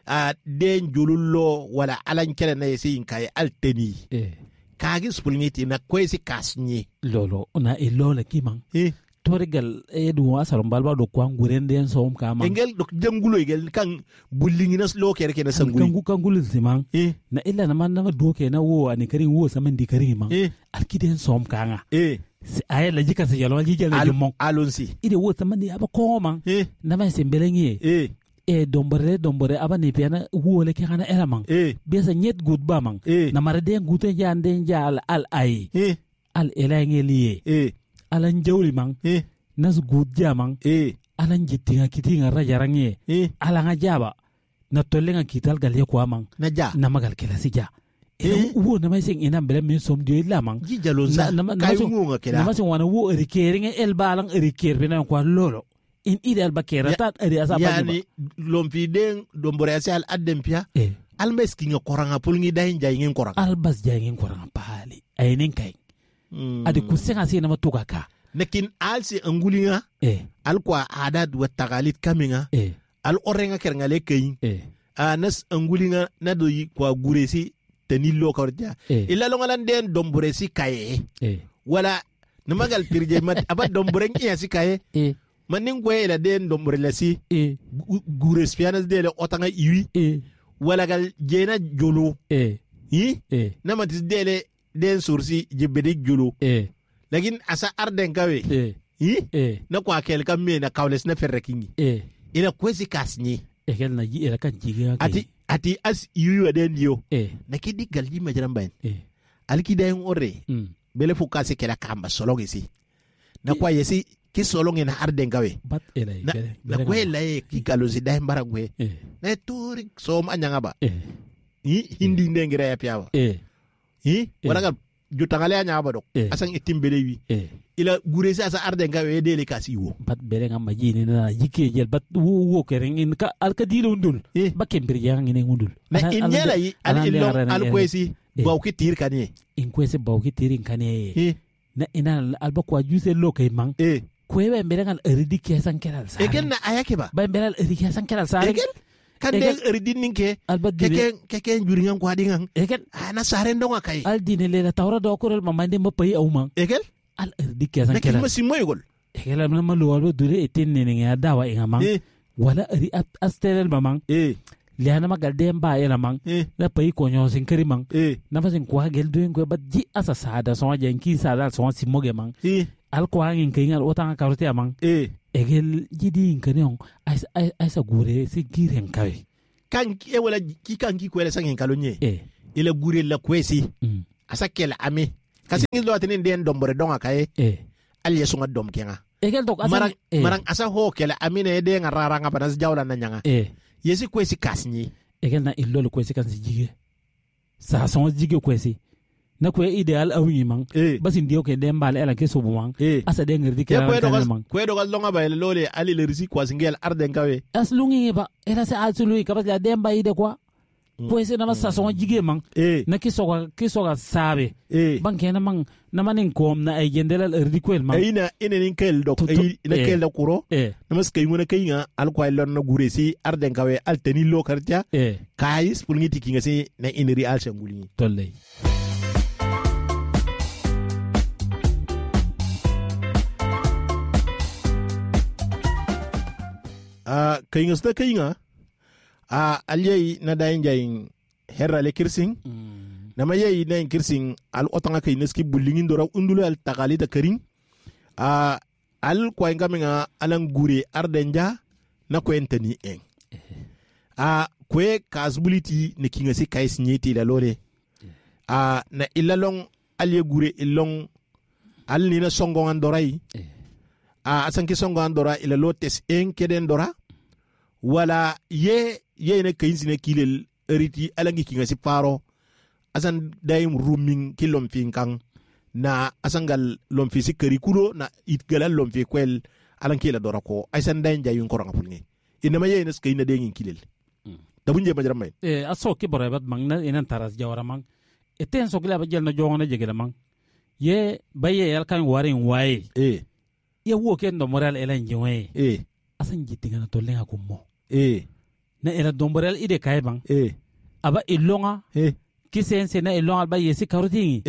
a den jolullo wala alan kele na yesi in kaye alteni eh kagi spulngiti na kwesi kasnye lolo na ilola kimang eh torigal e du asarum balba do kwa ngurenden som kama engel dok jangulo igel kan bullingina lo kere kene sangui kangu kangul simang eh na illa na man na do ke na wo ani karin wo saman di karin mang eh alkiden som kanga eh ay la jika se yalo jika la jumon alonsi ide wo saman di aba ko mang eh na ma sembelengi eh e dombore dombore aba ne piana wo le ke kana era mang eh besa nyet gut ba mang eh na mara den guten ja den ja al al ay eh al elange liye eh alan jawli mang eh nas gut ja mang eh alan jittinga kitinga rajarange eh alanga jaba na tollenga kital gal ye kwa mang na ja na magal kelasi ja Eh? wo na mai sing ina bele min som dio illa mang ji jalonsa Na- na- na- kayu ngunga kela na ma sing wana wo eri keringa el balang eri ker bena kwa lolo in ide al bakera Ya- tat eri asa yani lompi den dombore ase al adden pia eh al meskinga koranga pulngi dahin jayingin koranga albas jangin koranga pali ayinin kai Mm. adi kusenga se na matuka ka Lakin al si angulinga eh al kwa adat wa tagalit kaminga eh al orenga kerngale kayin eh a nas angulinga na do kwa guresi tanillo kawrja eh illa longalan den domboresi kaye eh wala namagal pirje mat aba domboren iya si kaye eh manin gwe ila den dombore lasi eh gures pianas de le otanga iwi eh wala gal jena jolo eh yi eh namatis dele den sursi jibbedi jolo eh lakin asa arden kawe eh yi eh na kwa kel kam me na kawles na ferre kingi eh ina kwesi kasnye ekel na ji era kan jiga kai ati ati as iwi wa den yo eh na kidi galji majaran bayin eh alki dayin orre mm bele fu kasi kela kamba solong isi na kwa yesi ki solong ina arden kawe bat era na na kwe la ye ki kalosi dayin bara kwe eh na tori som anyanga ba eh yi hindi ndengira ya piawa eh yi Eh. wala gal jutangale anya ba dok Eh. asan itimbele wi eh ila guresi asa arden kawe dele kasi wo bat bere nga majini na jike jel bat wo wo kereng in ka al ka dilo undul Eh. ba kembir yang ini undul na inyela yi al ilong al kwesi Eh. baw ki tir kanie in kwese baw ki tirin kane eh na ina alba kwa juse lo kay mang eh kwe ba mbere ngal eridi kesan keral sa egen na ayake ba ba mbere al eridi kesan keral sa egen kan Egen. den eridin ninke alba dire keken keken juringan kwa dingan egen ana saren donga kai al dine le la tawra do korel mamande ma payi au mang egen al eridi kesan na keral kilma simoy gol egen la ma lo alba dure etin ne ne dawa inga mang eh wala eri astelel mamang eh liana magal dem ba ela mang eh na payi ko nyosin kari mang eh na fasin kwa gel doen ko bat ji asa sada so jen ki sada so si moge mang eh Al ko hangin kingal otanga karote amang. Egel jidi inkaneon aisa gure si giren kawe. Kan e wala ki kan ki kwele sangin kalonye. Ila gure la kwesi. Asa kela ame. Kasi ngi lo atinin den dombore donga kaye. Al yesunga dom kenga. Egel dok asa marang asa ho kela amine de nga raranga panas jawla na nyanga. Yesi kwesi kasni. Egel na illol kwesi kan si jige. Sa son jige kwesi. Na kwe ideal awingi mang. Basi ndiyo ke den bale ala ke sobu mang. Asa den ngerdi ke ala mang. Kwe dogal longa ba lole ali le risi kwa singel arden kawe. As lungi ba era se asulu ka bas la den ba ide kwa. Kwesi na sa son jige mang. Na kisoga sabe. Banke na mang na manin kom na ay jendela erdi kwel mang. Ina ina nin kel dok ina kel da kuro. Na mas kay ngona kay nga al kwa lon na gure si arden kawe al teni lo kartia. Kayis pulngi tikinga si na ineri al sanguli. Tolley. Kayinga sta kayinga alyai na dayin jayin herra le kirsin na ma yayi na kirsin al otanga kay neski bullingin dora undulu al takalita karin al kwa ngaminga alan gure ardenja na kwentani en kwe kasbuliti ne kinga si kais nyeti la lore na ilalong al ye gure ilong al ni na songo andorai asanki songo andora ila lotes en keden dora wala ye ye ne kayinsi ne kilel eriti alangi kinga si paro asan dayim ruming ki lomfi kan na asangal lomfi si karikulo na itgalal lomfi kwel alanki la dora ko asan dayim jayun koranga pulnge inama ye ne skayina dengin kilel dabunje majram may aso ki borebat mang na inan taras jawara mang eten sokla ba jelna jongona jegela mang ye baye yal kan warin waye ye wo ken do moral elan jiwe asan jitinga na tollenga kummo na ela domborel ide kay bang aba ilonga kisense na ilonga ba yesi karotingi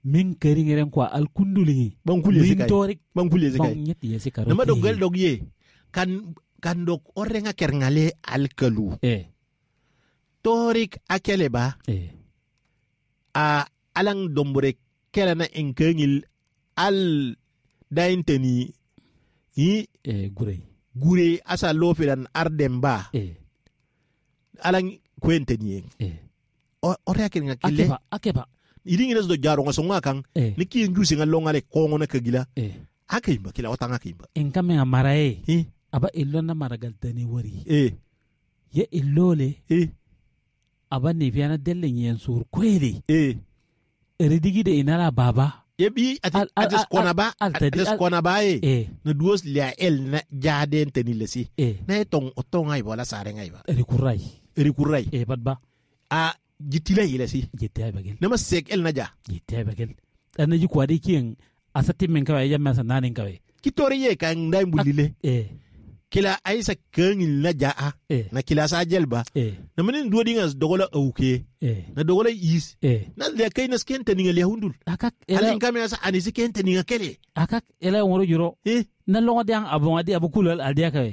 min keringeren kwa al kundulingi ban kulye sikai ban kulye sikai ban nyeti yesi karotingi na madog gel dog ye kan dog orenga kerngale al kalu torik akele ba a alang dombore kela na enkengil al dainteni i gure gure asa lofiran ardemba alang kwenteni ore akenga kile akeba idingi nas do jaro ngasonga kan niki njusi ngalonga le kongo na kagila akimba kila otanga kimba en kame amarae aba ilona maragal tani wari ye ilole aba ne fiana dellen yen sur kweli eridigi de inala baba yebi atis kona ba atis kona ba e na duos lia el na jaden teni lesi na etong otong ai bola sare ngai ba erikurai badba a jitila yilesi jitila bagel na masek el naja jitila bagel ana ji kwadi kien asati men kawe ya masa nanin kawe kitori ye kan ndai bulile kila aisa kangil na jaa na kila sa jelba na manin duodi ngas dogola auke na dogola is na le kay na skente ninga le hundul akak alin kamera sa anisi kente ninga kele akak ela ngoro juro na longo diang abon adi abukulal aldia kawe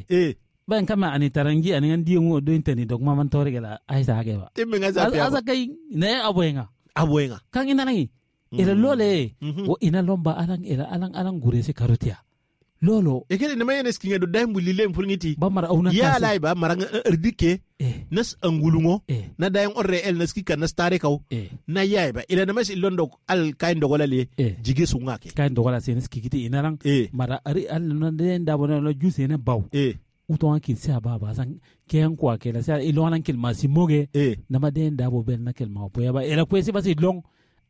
ban kama ani tarangi ani ngandi ngo do inteni dog maman tore gela aisa hage ba tembe ngaza pia asa kay ne aboenga kan ina nangi ela lole wo ina lomba alang ela alang alang gure se karotia lolo ekele ne mayene skinga do daimbu lile mpulngiti ba mara auna ya lai ba mara erdike nas angulungo na dayang orre el nas kika nas tare kaw na yaay ba ila namas ilondo al kain dogola le jige sunga ke kain dogola se nas kikiti inalang mara ari al na den da bona no juse ne baw uton ki se ba ba san ken kwa ke la se ilon kel masimoge na ma den da bo bel na kel ma bo ya ba ila kwesi ba si long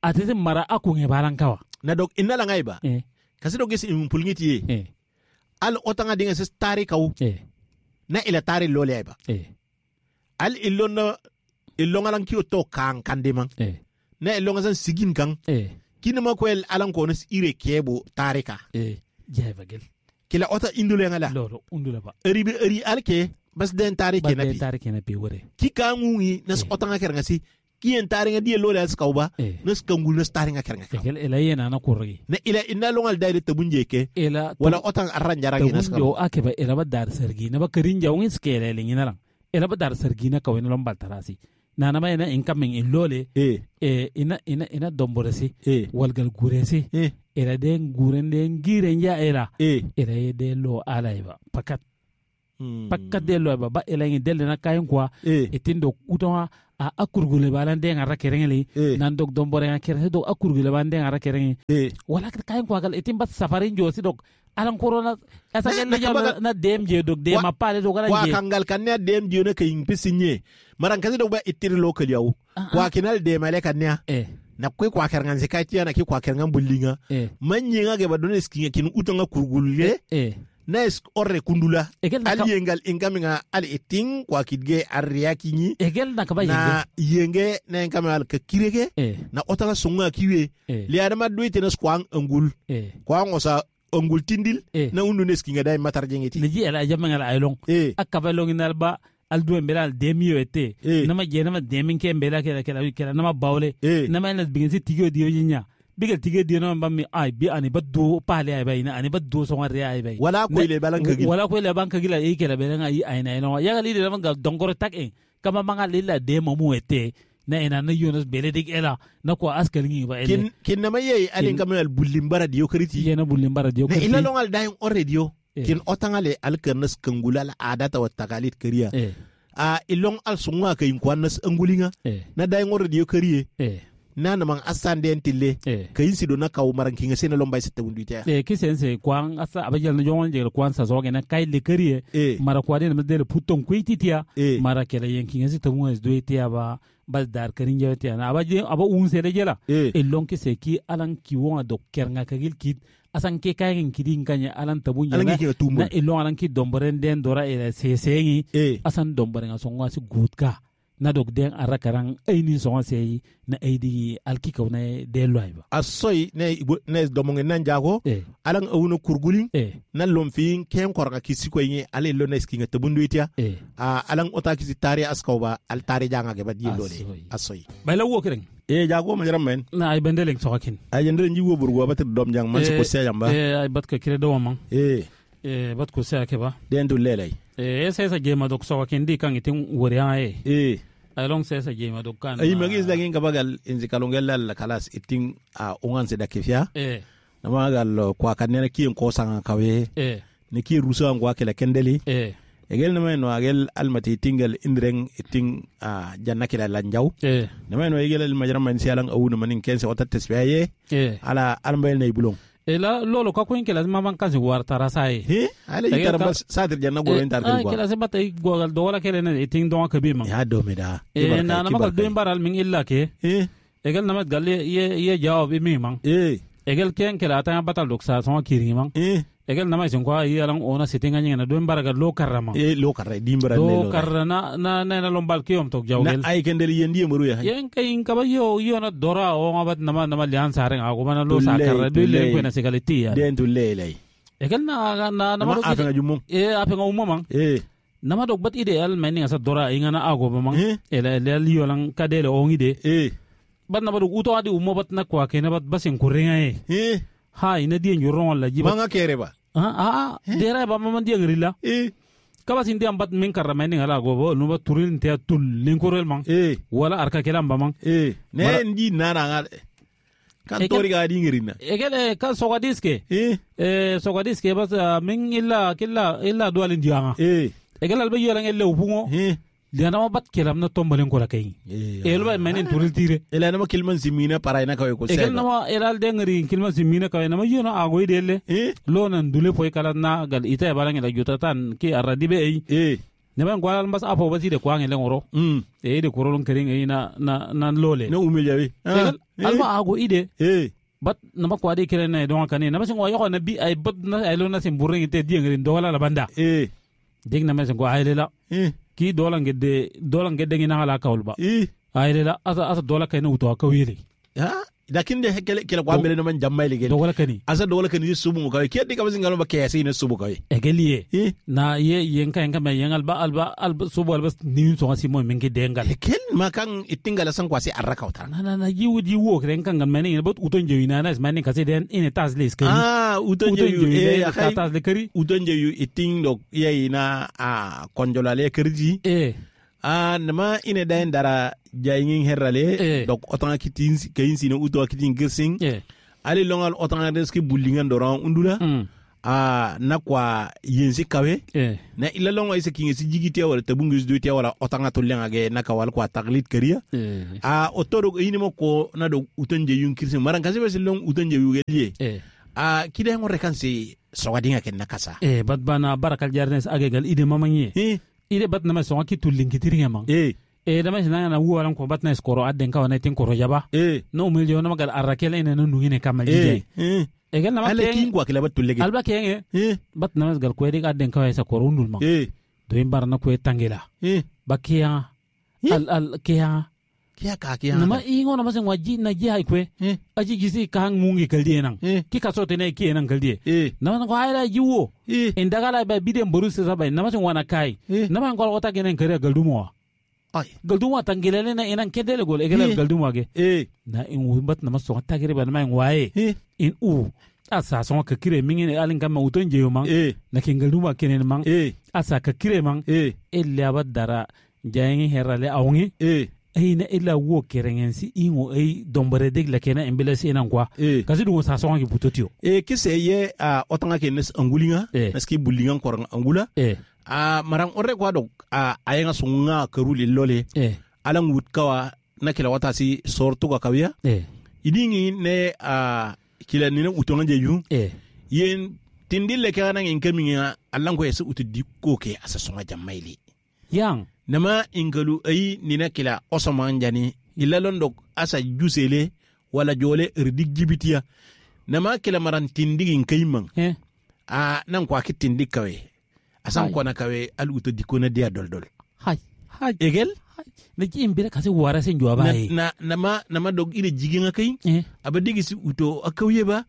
atete mara akunge balankawa na dog inala ngai ba kasi dog isi mpulngiti ye al otanga dinga ses tare kaw na ila tare lole ba al ilonna ilonga lan kiyo to kan kande man na ilonga san sigin kan kina ma ko el alan ko nas ire kebo tare ka jay bagel kila ota indule ngala lolo undula ba eri bi eri alke bas den tare ke na bi tare ke na bi wore ki ka ngungi nas otanga ker ngasi ki en tare ngadi lole as kawba nas kangul nas tare ngaker ngaka kel ela yena na kurri na ila inna longal dayre tabunje ke ela wala otang arran jaragi nas ka yo ake ba ela ba dar sergi na ba karin jawngin skele lingina lang ela ba dar sergi na kawin lombal tarasi Na nama ina incoming in lole eh ina ina ina domboresi eh walgal guresi eh ila den guren den giren ya ila eh ila ye de lo ala iba pakat pakat de lo ba ba ila ngi del na kayen kwa eh itindo utoma a akurgule balan den ara kerengeli eh nan dog dombore nga kereng dog akurgule balan den ara kerengi eh wala kayen kwa gal itin bat safarin josi dog alan corona asa Na- gel na na kabaga- na dem je dog de Wa- ma pale dog ala wa je kangal kanne dem diyo ka yin pisinye maran kasi dog ba itiri local yawo wa kinal de male kanne eh na kwe kwa kerngan se kai na ki kwa kerngan bullinga eh manyinga ge ba dones kinga kin utanga kurgulle eh na es orre kundula egel na al ka yengal ingaminga al itin kwa kidge arriya kinyi egel na kaba yenge na yenge na ingaminga al ka kirege eh na otanga sunga kiwe eh li adama duite na skwang angul eh kwa ngosa angul tindil eh na undu nes kinga dai matar jengeti niji ala jamanga ala aylong eh akaba long inalba al duen bela al demiyo ete Eh. nama je nama demin ke bela kela kela kela nama bawle eh nama ina bingin tigo diyo jinya bigal tigo diyo nama bammi ay bi ani baddo pale ay bay na ani baddo so ngare ay bay wala ko ile balan kagil wala ko le banka gila e kela bela nga ay na ino ya gali de nama gal dongoro tak en kama manga lilla de mamu ete na ina na yonas bele dik ela na ko askal ngi ba ele kin kin nama yeyi alin Kin- kamen al bullin bara diyo kariti yena bullin bara diyo na karti. ila longal dayin on radio Eh. kin otangale al kernas kangula al adata wa takalit kariya eh a ilong al sunga kayin kwannas angulinga eh na dayin on radio kariye eh na naman asan den tille eh kayin sido na kaw maran kinga sena lombay sette wunduita eh kisen se kwan asa abajal na jongon jegel kwan sa zoge na kai le kariye eh mara kwade na dele puton kuititia eh mara kele yenkinga si tamu es doitia ba bas dar karin jawtia na abaje aba un sele jela eh e lonki se ki alan ki wonga do kernga kagil kit asan ke kayen kidin kanya alan tabun alan jela kinga tumbul na ilon alan ki domboren den dora ila sesengi eh asan domboren songa si gutka na dok den arakaran aini songa sei na aidi alki kauna de loiba asoy ne ne domonge nan jago eh alan awuna kurgulin eh na lomfin ken korga kisi ko yinge ale lo ne skinga tabunduita eh a alan ota kisi tare askaw ba al tare janga ge ba di lole Asoy. asoy bayla wo kereng e jago ma jaram men na ay bendeleng sokakin ay jendere njiwo burgo ba dom jang man ko seyam ba eh ay bat ka kire do man e eh bat ko se ke ba den du lelay eh se sa jema dok sokakin di kan itin wori ha eh e ay long se sa jema dok kan ay magis dagin kabagal inzi kalongel la kalas itin a ungan se dakifia eh namagal kwa kanene kiyen ko sanga kawe eh ni ki ruso an kwa kala kendeli eh egel nama no agel almati tingal indreng itin a janna kila lanjaw eh nama no egel al majram man sialang awuna manin kense wata tesbiye eh ala almayel nay bulong e la lolo ka kuin kela ma man kan si war tarasa e he ala Egel yitar ka- bas sadir janna go en tar ay kwa kela se bata i gogal do wala kele ne itin do ka bi man ya do me da e na na ma do baral min illa ke eh egel na ma galle ye ye jawab i mi man eh egel ken kela ta batal dok sa so kiri man eh egel na ma sin ko ay alan ona sitinga nyina do baraga lo karama eh lo karra dimbara ne do lo karra na na na na lombal ke yom tok na jawgel ay kendeli yendi maru ya yen kay in kaba yo yo na dora o ngabat nama nama lian sareng ako mana lo sa Tulley, karra do le tulley. ko na segaliti ya den tu lelay egel na na nama nama do afenga jumum e apenga umma man eh nama dok bat ide al meni asa dora ingana ago ba man Eh? ela ela liyo lang kadele ongi de eh bat nama dok uto adi umma bat na kwa kena bat basin kuringa e eh ha ina dien yuron la jibat manga kere ba ha ha dera ba man dien rila eh kaba sin diam bat min karra meni ala go bo no bat turin te tul linkorel man eh wala arka kelam ba man eh ne Wala- ndi nana nga kan Egel- tori ga dingirina egele ka sogadiske eh e sogadiske bas min illa killa illa dualin dianga eh egel alba yolang elle upungo eh diana ma bat kelam na tombalen ko la kay eh el ba menin turil tire ela nama kilman simina parai na kawai ko egel sega nama elal dengri kilma simina kay nama yona agoy delle eh lo nan dule poy kala na gal ita balang ila juta tan ki aradi be ei eh ne ban gwalal mas apo basi de kwang ele ngoro mm e de korolon kering ei na na na lole na umel jawi egel alma ago ide eh bat nama kwadi kere na don kane nama sin wayo na bi ay bat na ay lo na sin burring te diengri dola la banda eh ding na ma sin ko ay lela eh ki dola ngedde dola ngedde ngina hala kawlba eh ay lela asa asa dola kayna wuto akawili ha lakin de kele kele kwa mbele na man jamma ile gele dola kani asa dola kan yi subu kawai ke dika basin galo ba ke yasi ne subu kawai egeliye eh na ye yenka yenka me yengal ba alba alba subu alba ni so ngasi mo mingi dengal kel ma kan itingala san kwasi arraka utar na na na jiwu jiwu kren kan gan meni bot uton jewi na na meni kasi den ine tas le skari ah uton uton jeyu jewi eh eh akai tas le kari uton jeyu iting dok yayi na a konjola le kerji eh Nama ine dayen dara jayingin herrale dok otanga kitin kayin sine uto kitin girsing ali longal otanga deski bullingan doran undula na kwa yensi kawe na ila longa isa kinga si jigitia wala tabungi si wala otanga tollenga ge na kawal kwa taglit kariya otoro ini mo ko na do utonje yun kirsin maran kasi basi long utonje yugelie kida ngore kansi sogadinga ken nakasa bat bana barakal jarnes agegal ide mamanye ide bat nama songa ki tullin kitiringa mang dama sina na wuwaran ko bat na skoro adden ka wana tin koro jaba no umiljo na magal arrakela ina no nungine kamal jije egal nama ale kin kwa kila bat tullege alba kenge bat nama gal ko edi adden ka sa koro undul mang do in barna ko tangela bakiya al al kiya kiya ka kiya nama ingo nama sen waji na ji hay kwe aji gisi ka hang mungi kaldi enang ki ka sote ne ki enang kaldi nama ko hayra jiwo en dagala ba bidem boru se sabai nama sen wana kai nama ngol ota genen kare galdumo ay galdumo tangilele na enang kedele gol egele galdumo ge na in wumbat nama so tagire ba nama en waye in u asa so ka kire mingene alin kam uton jeyo mang na kin galdumo kenen mang asa ka kire mang ella badara jayengi herale awngi ayna ila wo kerengensi ingo ay dombare deg la kena embelesi enan kwa kasi dungo sa songa ki butotio kise ye a otanga ke nes angulinga neski bulinga korang angula a marang ore kwa dok a ayenga sunga karuli lole alang wutkawa na kila watasi sortu ka kawiya idingi ne a kila nina utonga jeju yen tindile kana ngin kaminga alang ko yesu utudikko ke asa songa jamaili yang nama ingalu ayi nina kila osoman jani ila londo asa jusele wala jole irdik jibitiya nama kila maran tindigin kaimang a nan kwa kitindik kawe asan kwana kawe al uto dikona dia doldol hay hay egel ne ji imbira kasi wara sen juwa na, na nama nama dog ire jiginga kai aba digisi uto akawye ba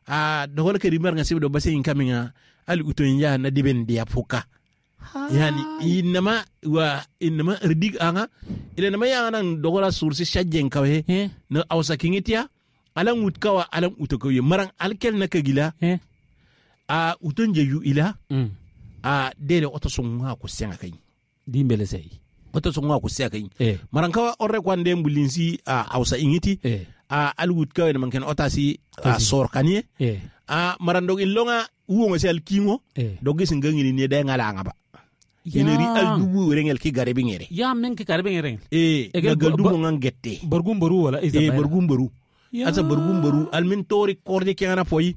a dogol kari marnga sibo do base inkaminga al uto nya na diben dia foka yani inama wa inama ridig anga ila nama ya nan dogola source shajjen kawe na awsa kingitia alan wutkawa alan utokoye marang alkel na kagila a utonje yu ila a dele oto songa ko senga kai dimbele sei oto songa ko senga kai marang kawa orre kwande mbulinsi a awsa ingiti a alwutkawe na manken otasi a sor kanie a marandog ilonga uwongo se alkingo dogi singangini ne da ngala ngaba ineri al dubu rengel ki garebe ngere ya men ki garebe ngere e galdu mo ngette borgum boru wala isa borgum boru asa borgum boru al min tori korde ki ngana foyi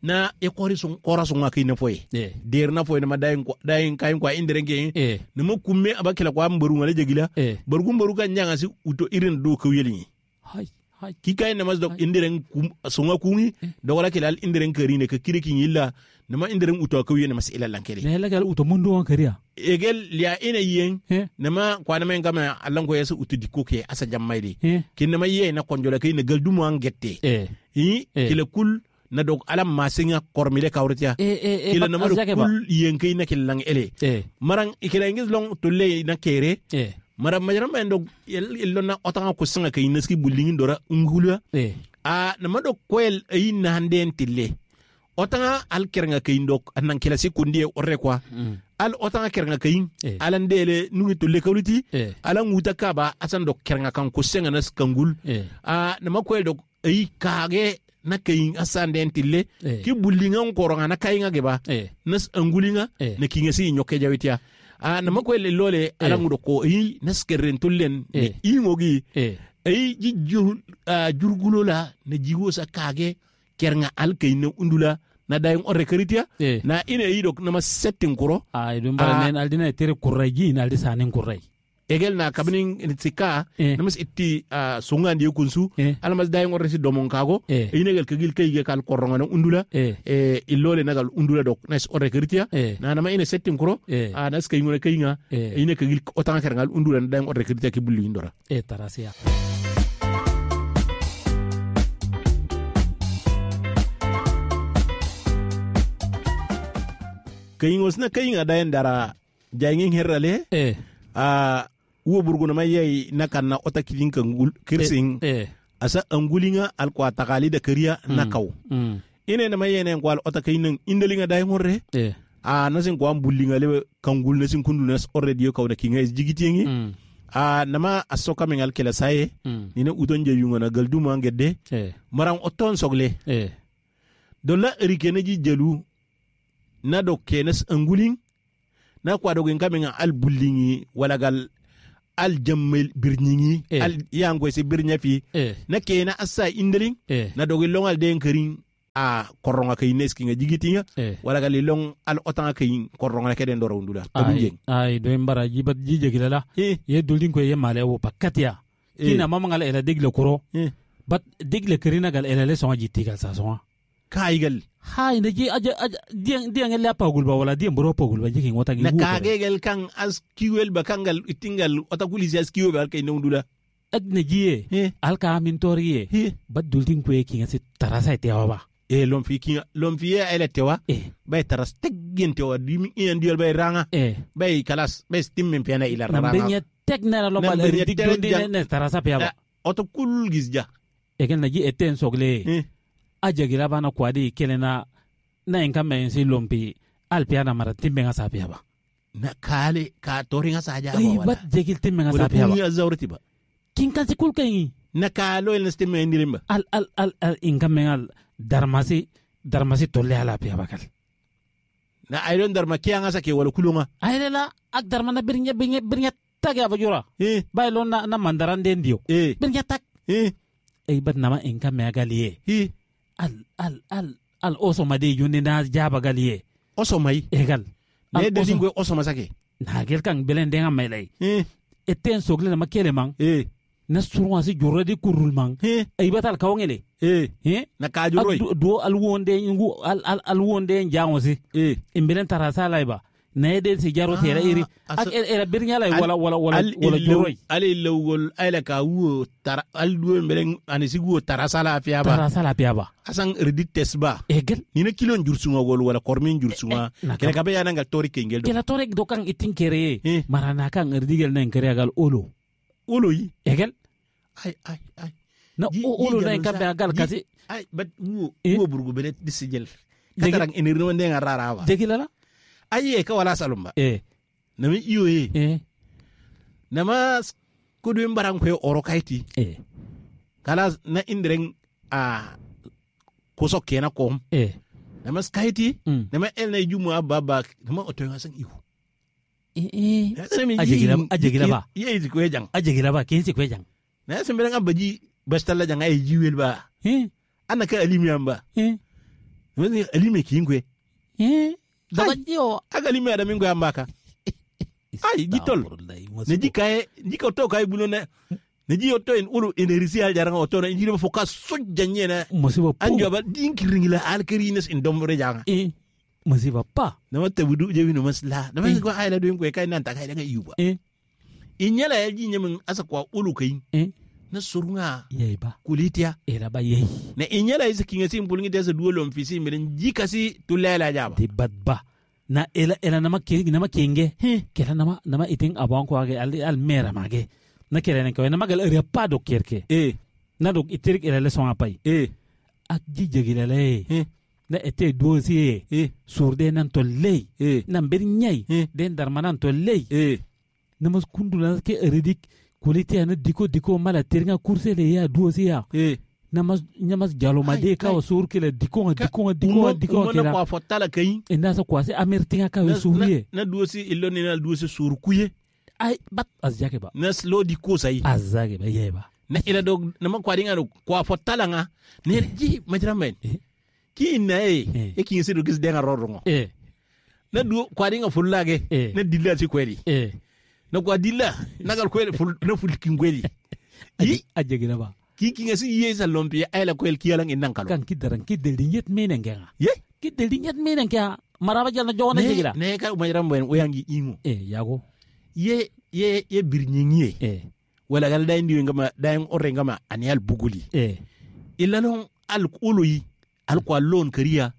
na e kori sun kora sun ngaki na foyi der na foyi na madayin ko dayin kayin ko indere nge ne mo kumme abakila ko am boru ngale jegila borgum boru kan nyanga si uto irin do ko yeli hay hay ki kay na masdok indiren sunga kungi dogora kilal indiren karine ka kiriki yilla nama indiren uto ko yene mas ila lankele ne lagal uto mundu on kariya egel liya ina yen nama kwana men gama allan ko yesu uto dikko ke asa jammayde kin nama ye na konjola kay na galdumo an gette i kila kul na dog alam masinga kormile kawrtiya kila nama kul yen kay na kilang ele marang ikila ingis long tulle na kere mara majaram en dog illo na otanga ko singa kay naski bulingin dora ungula a nama do koel ay na handen tille otanga al kerenga kay ndok anan kila sikundi orre kwa al otanga kerenga kay alan dele nungi tulle kawliti alan wuta kaba asan dok kerenga kan ko singa nas kangul a nama koel dok ay kage na kay asan den tille ki bulinga koronga na kayinga geba nas angulinga na kinga si nyoke jawitia a nama ko le lole alangudo ko yi naskerren tullen ne ingogi ay ji jurgulo la na jiwo sa kage kernga alkay ne undula na dayin orre karitia na ina yi dok nama settin kuro ay dum bara nen aldina tere kurraji ina aldi sanin kurrai egel na kabinin sika namas itti sunga ndi kunsu almas dayin orre si domon kago ina gel kagil kay kal koronga na undula illole nagal undula dok nas orre karitia na nama ina settin kuro a nas kay ngone kayinga ina kagil otanga kerngal undula na dayin orre karitia ki bulli indora tarasiya kayingos na kayinga dayin dara jayingin herrale a wo burguna mai yayi na kanna ota kilin kan kirsin asa angulinga alkwa takali da kariya na kaw ine na mai yene kwal ota kayinin indalinga dayin horre A nasin ko am bullinga le kangul nasin kundu nas already yo kawna kinga is jigitiengi. A nama asoka men al kela saye nina udon je yunga na galduma ngedde maran oton sogle dolla erikene ji jelu na do kenes angulin na kwa do ngame al bullingi wala gal al jammel birningi al yango se birnya fi na kena assa indelin na do longal den kerin a koronga kay neski nga jigitinga wala gal long al otanga kay koronga keden doro ndula ay ay do mbara jibat jije gilala ye duldin ko ye male wo pakatia kina mama ngal ela digle koro bat digle kerina gal ela le songa jitti gal sa songa kaygal hay na ji aja aja diang diang la pagul ba wala diang bro pagul ba jiki ngota gi na kagegel kan as kiwel ba kangal itingal ota kulisi as kiwel ba kay ndula ak na jiye al ka min toriye bat duldin ko ye kinga si tarasa te ba e lon fi kinga lon fi ye ele tewa bay taras teggin tewa dimi iyan diol bay ranga bay kalas bay stimmin pena ila ranga na benya tek na lo bal dik dundi ne tarasa pe ba oto kul gisja e ken na ji eten sogle ajagira bana kwadi kelena na inka men si lompi alpiana mara timbe nga sapia ba na kale ka toringa saja ba wala bat jegil timbe nga sapia ba wala zawrti ba kin kan si kul kay na kalo el stimbe ndirimba al al al al inka men al darmasi darmasi tolle ala pia bakal na aylon darma kianga sake wala kulunga aylela ak darma na birnya birnya birnya tak ya bajura bay lon na mandaran den dio birnya tak ay bat nama inka me agaliye al al al al oso made yunde na jaba galiye oso mai egal ne de dingwe oso masake na gel kan belen denga mai lay eten sogle na makele mang na surwa si jurra di kurul mang ay batal kawngele na kajuroi do al wonde ngu al al al wonde jango si imbelen tarasa lay ba na yede si jaro tera iri ak era birnya lay wala wala wala wala juroi al lawol ala ka wo tar al do mbelen ani si wo tarasa la fiya ba tarasa la fiya ba asan ridi tesba egel ni na kilon jursunga gol wala kormin jursunga kala ka be yana ngal tori kengel do kala tori do kan itin kere marana kan ridigel nan kere gal olo olo yi egel ay ay ay na olo na kan be gal kasi ay bat wo wo burgu bele disijel katarang enirno ndenga rara ba jegilala aye ka wala salumba nami iyo ye nama kudu mbaran ko oro kaiti kala na indiren a kuso kena kom nama skaiti nama el na jumu ababa nama oto ngasan ihu ajegila ba ye ko jang ajegila ba kensi ko jang na semberan abaji bastalla jang ay jiwel ba ana ka alimi amba nama alimi kingwe daga aga limi ada mingo ambaka ay gitol ne jikaye jika to kay bulona ne ji oto en ulu enerisi al jaranga oto na injiri foka sojja nyena musiba anjo ba dinkiringila al kerines in dombre janga musiba pa na matta budu je wino masla na ma ko ayla do ko kay nan ta kay daga yuba inyala ya ji nyemin asa kwa ulu kay na surunga yeyi ba kulitia era ba yeyi na inyala isa kinga sin bulngi desa duolom fisi miren jikasi tulela jaba di badba na ela ela nama ke nama kenge kela nama nama itin abon ko age al al mera mage na kela ne ko nama gal ere pa do kerke na do itirik ela le son apai ak ji jegila le na ete dossier surde nan to ley nan ber nyai den darmanan to ley namas kundula ke eridik kulite ana diko diko mala teringa course le ya dossier ya namas namas jalo made ka o sur kele diko diko diko diko kela na kwa fotala kai ina sa kwa se amertinga ka o suriye na dossier illo ni na dossier sur kuye ay bat azjake ba na slo diko sai azjake ba yeba na ila do na ma kwa dinga do kwa fotala nga ne ji majra men ki ina e e ki nsido kis denga rorongo na du kwa dinga fullage na dilla si kweli na kwa dilla na gal kweli na ful kingweli yi ajegina ba ki kinga si ye sa lompi ayla kwel ki yalang innan kalo kan kidaran kidel nyet menen genga ye kidel nyet menen ka maraba jalna jona jegila ne ka majra men oyangi ingo yago ye ye ye birnyingi wala gal day ndi ngama day orre ngama ani al buguli illa non al oloyi al kwa lon kariya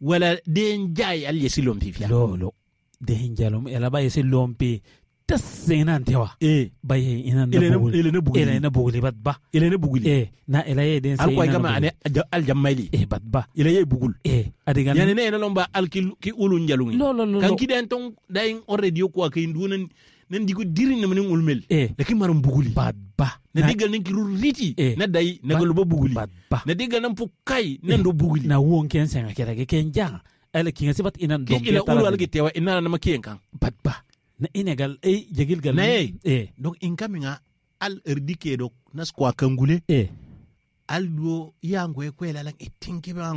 wala den jay al yesi lompi fiya lolo den jalom ela ba yesi lompi Tas ina tewa. Baye ina Ile na buguli. ile na buguli. Ila na buguli bat ba. Ile na buguli. Na ila ye den Al se kwai ina na gama buguli. ane al jammaili. Bat ba. Ile ye bugul. Adigan. Yani ne ina lomba al ki ulun jalungi. Lo lo lo. Kan ki den tong dayin already ko akay ndunan nan digo dirin na manin ulmel. Lakin maram buguli. Bat ba. Na digal nan kiru riti na dai na galuba buguli. Bat ba. Na digal nan fukai nan do buguli. Na won ken senga kera ke ken jang. Ala kinga sibat ina Ki dom. Ila ulu al ki tewa ina na makiyen kan. Bat ba. Na ina gal jagil gal. Na ye. Donc in kaminga al erdike do nas kwa kangule. Al do yango e kwela lang itinke ba.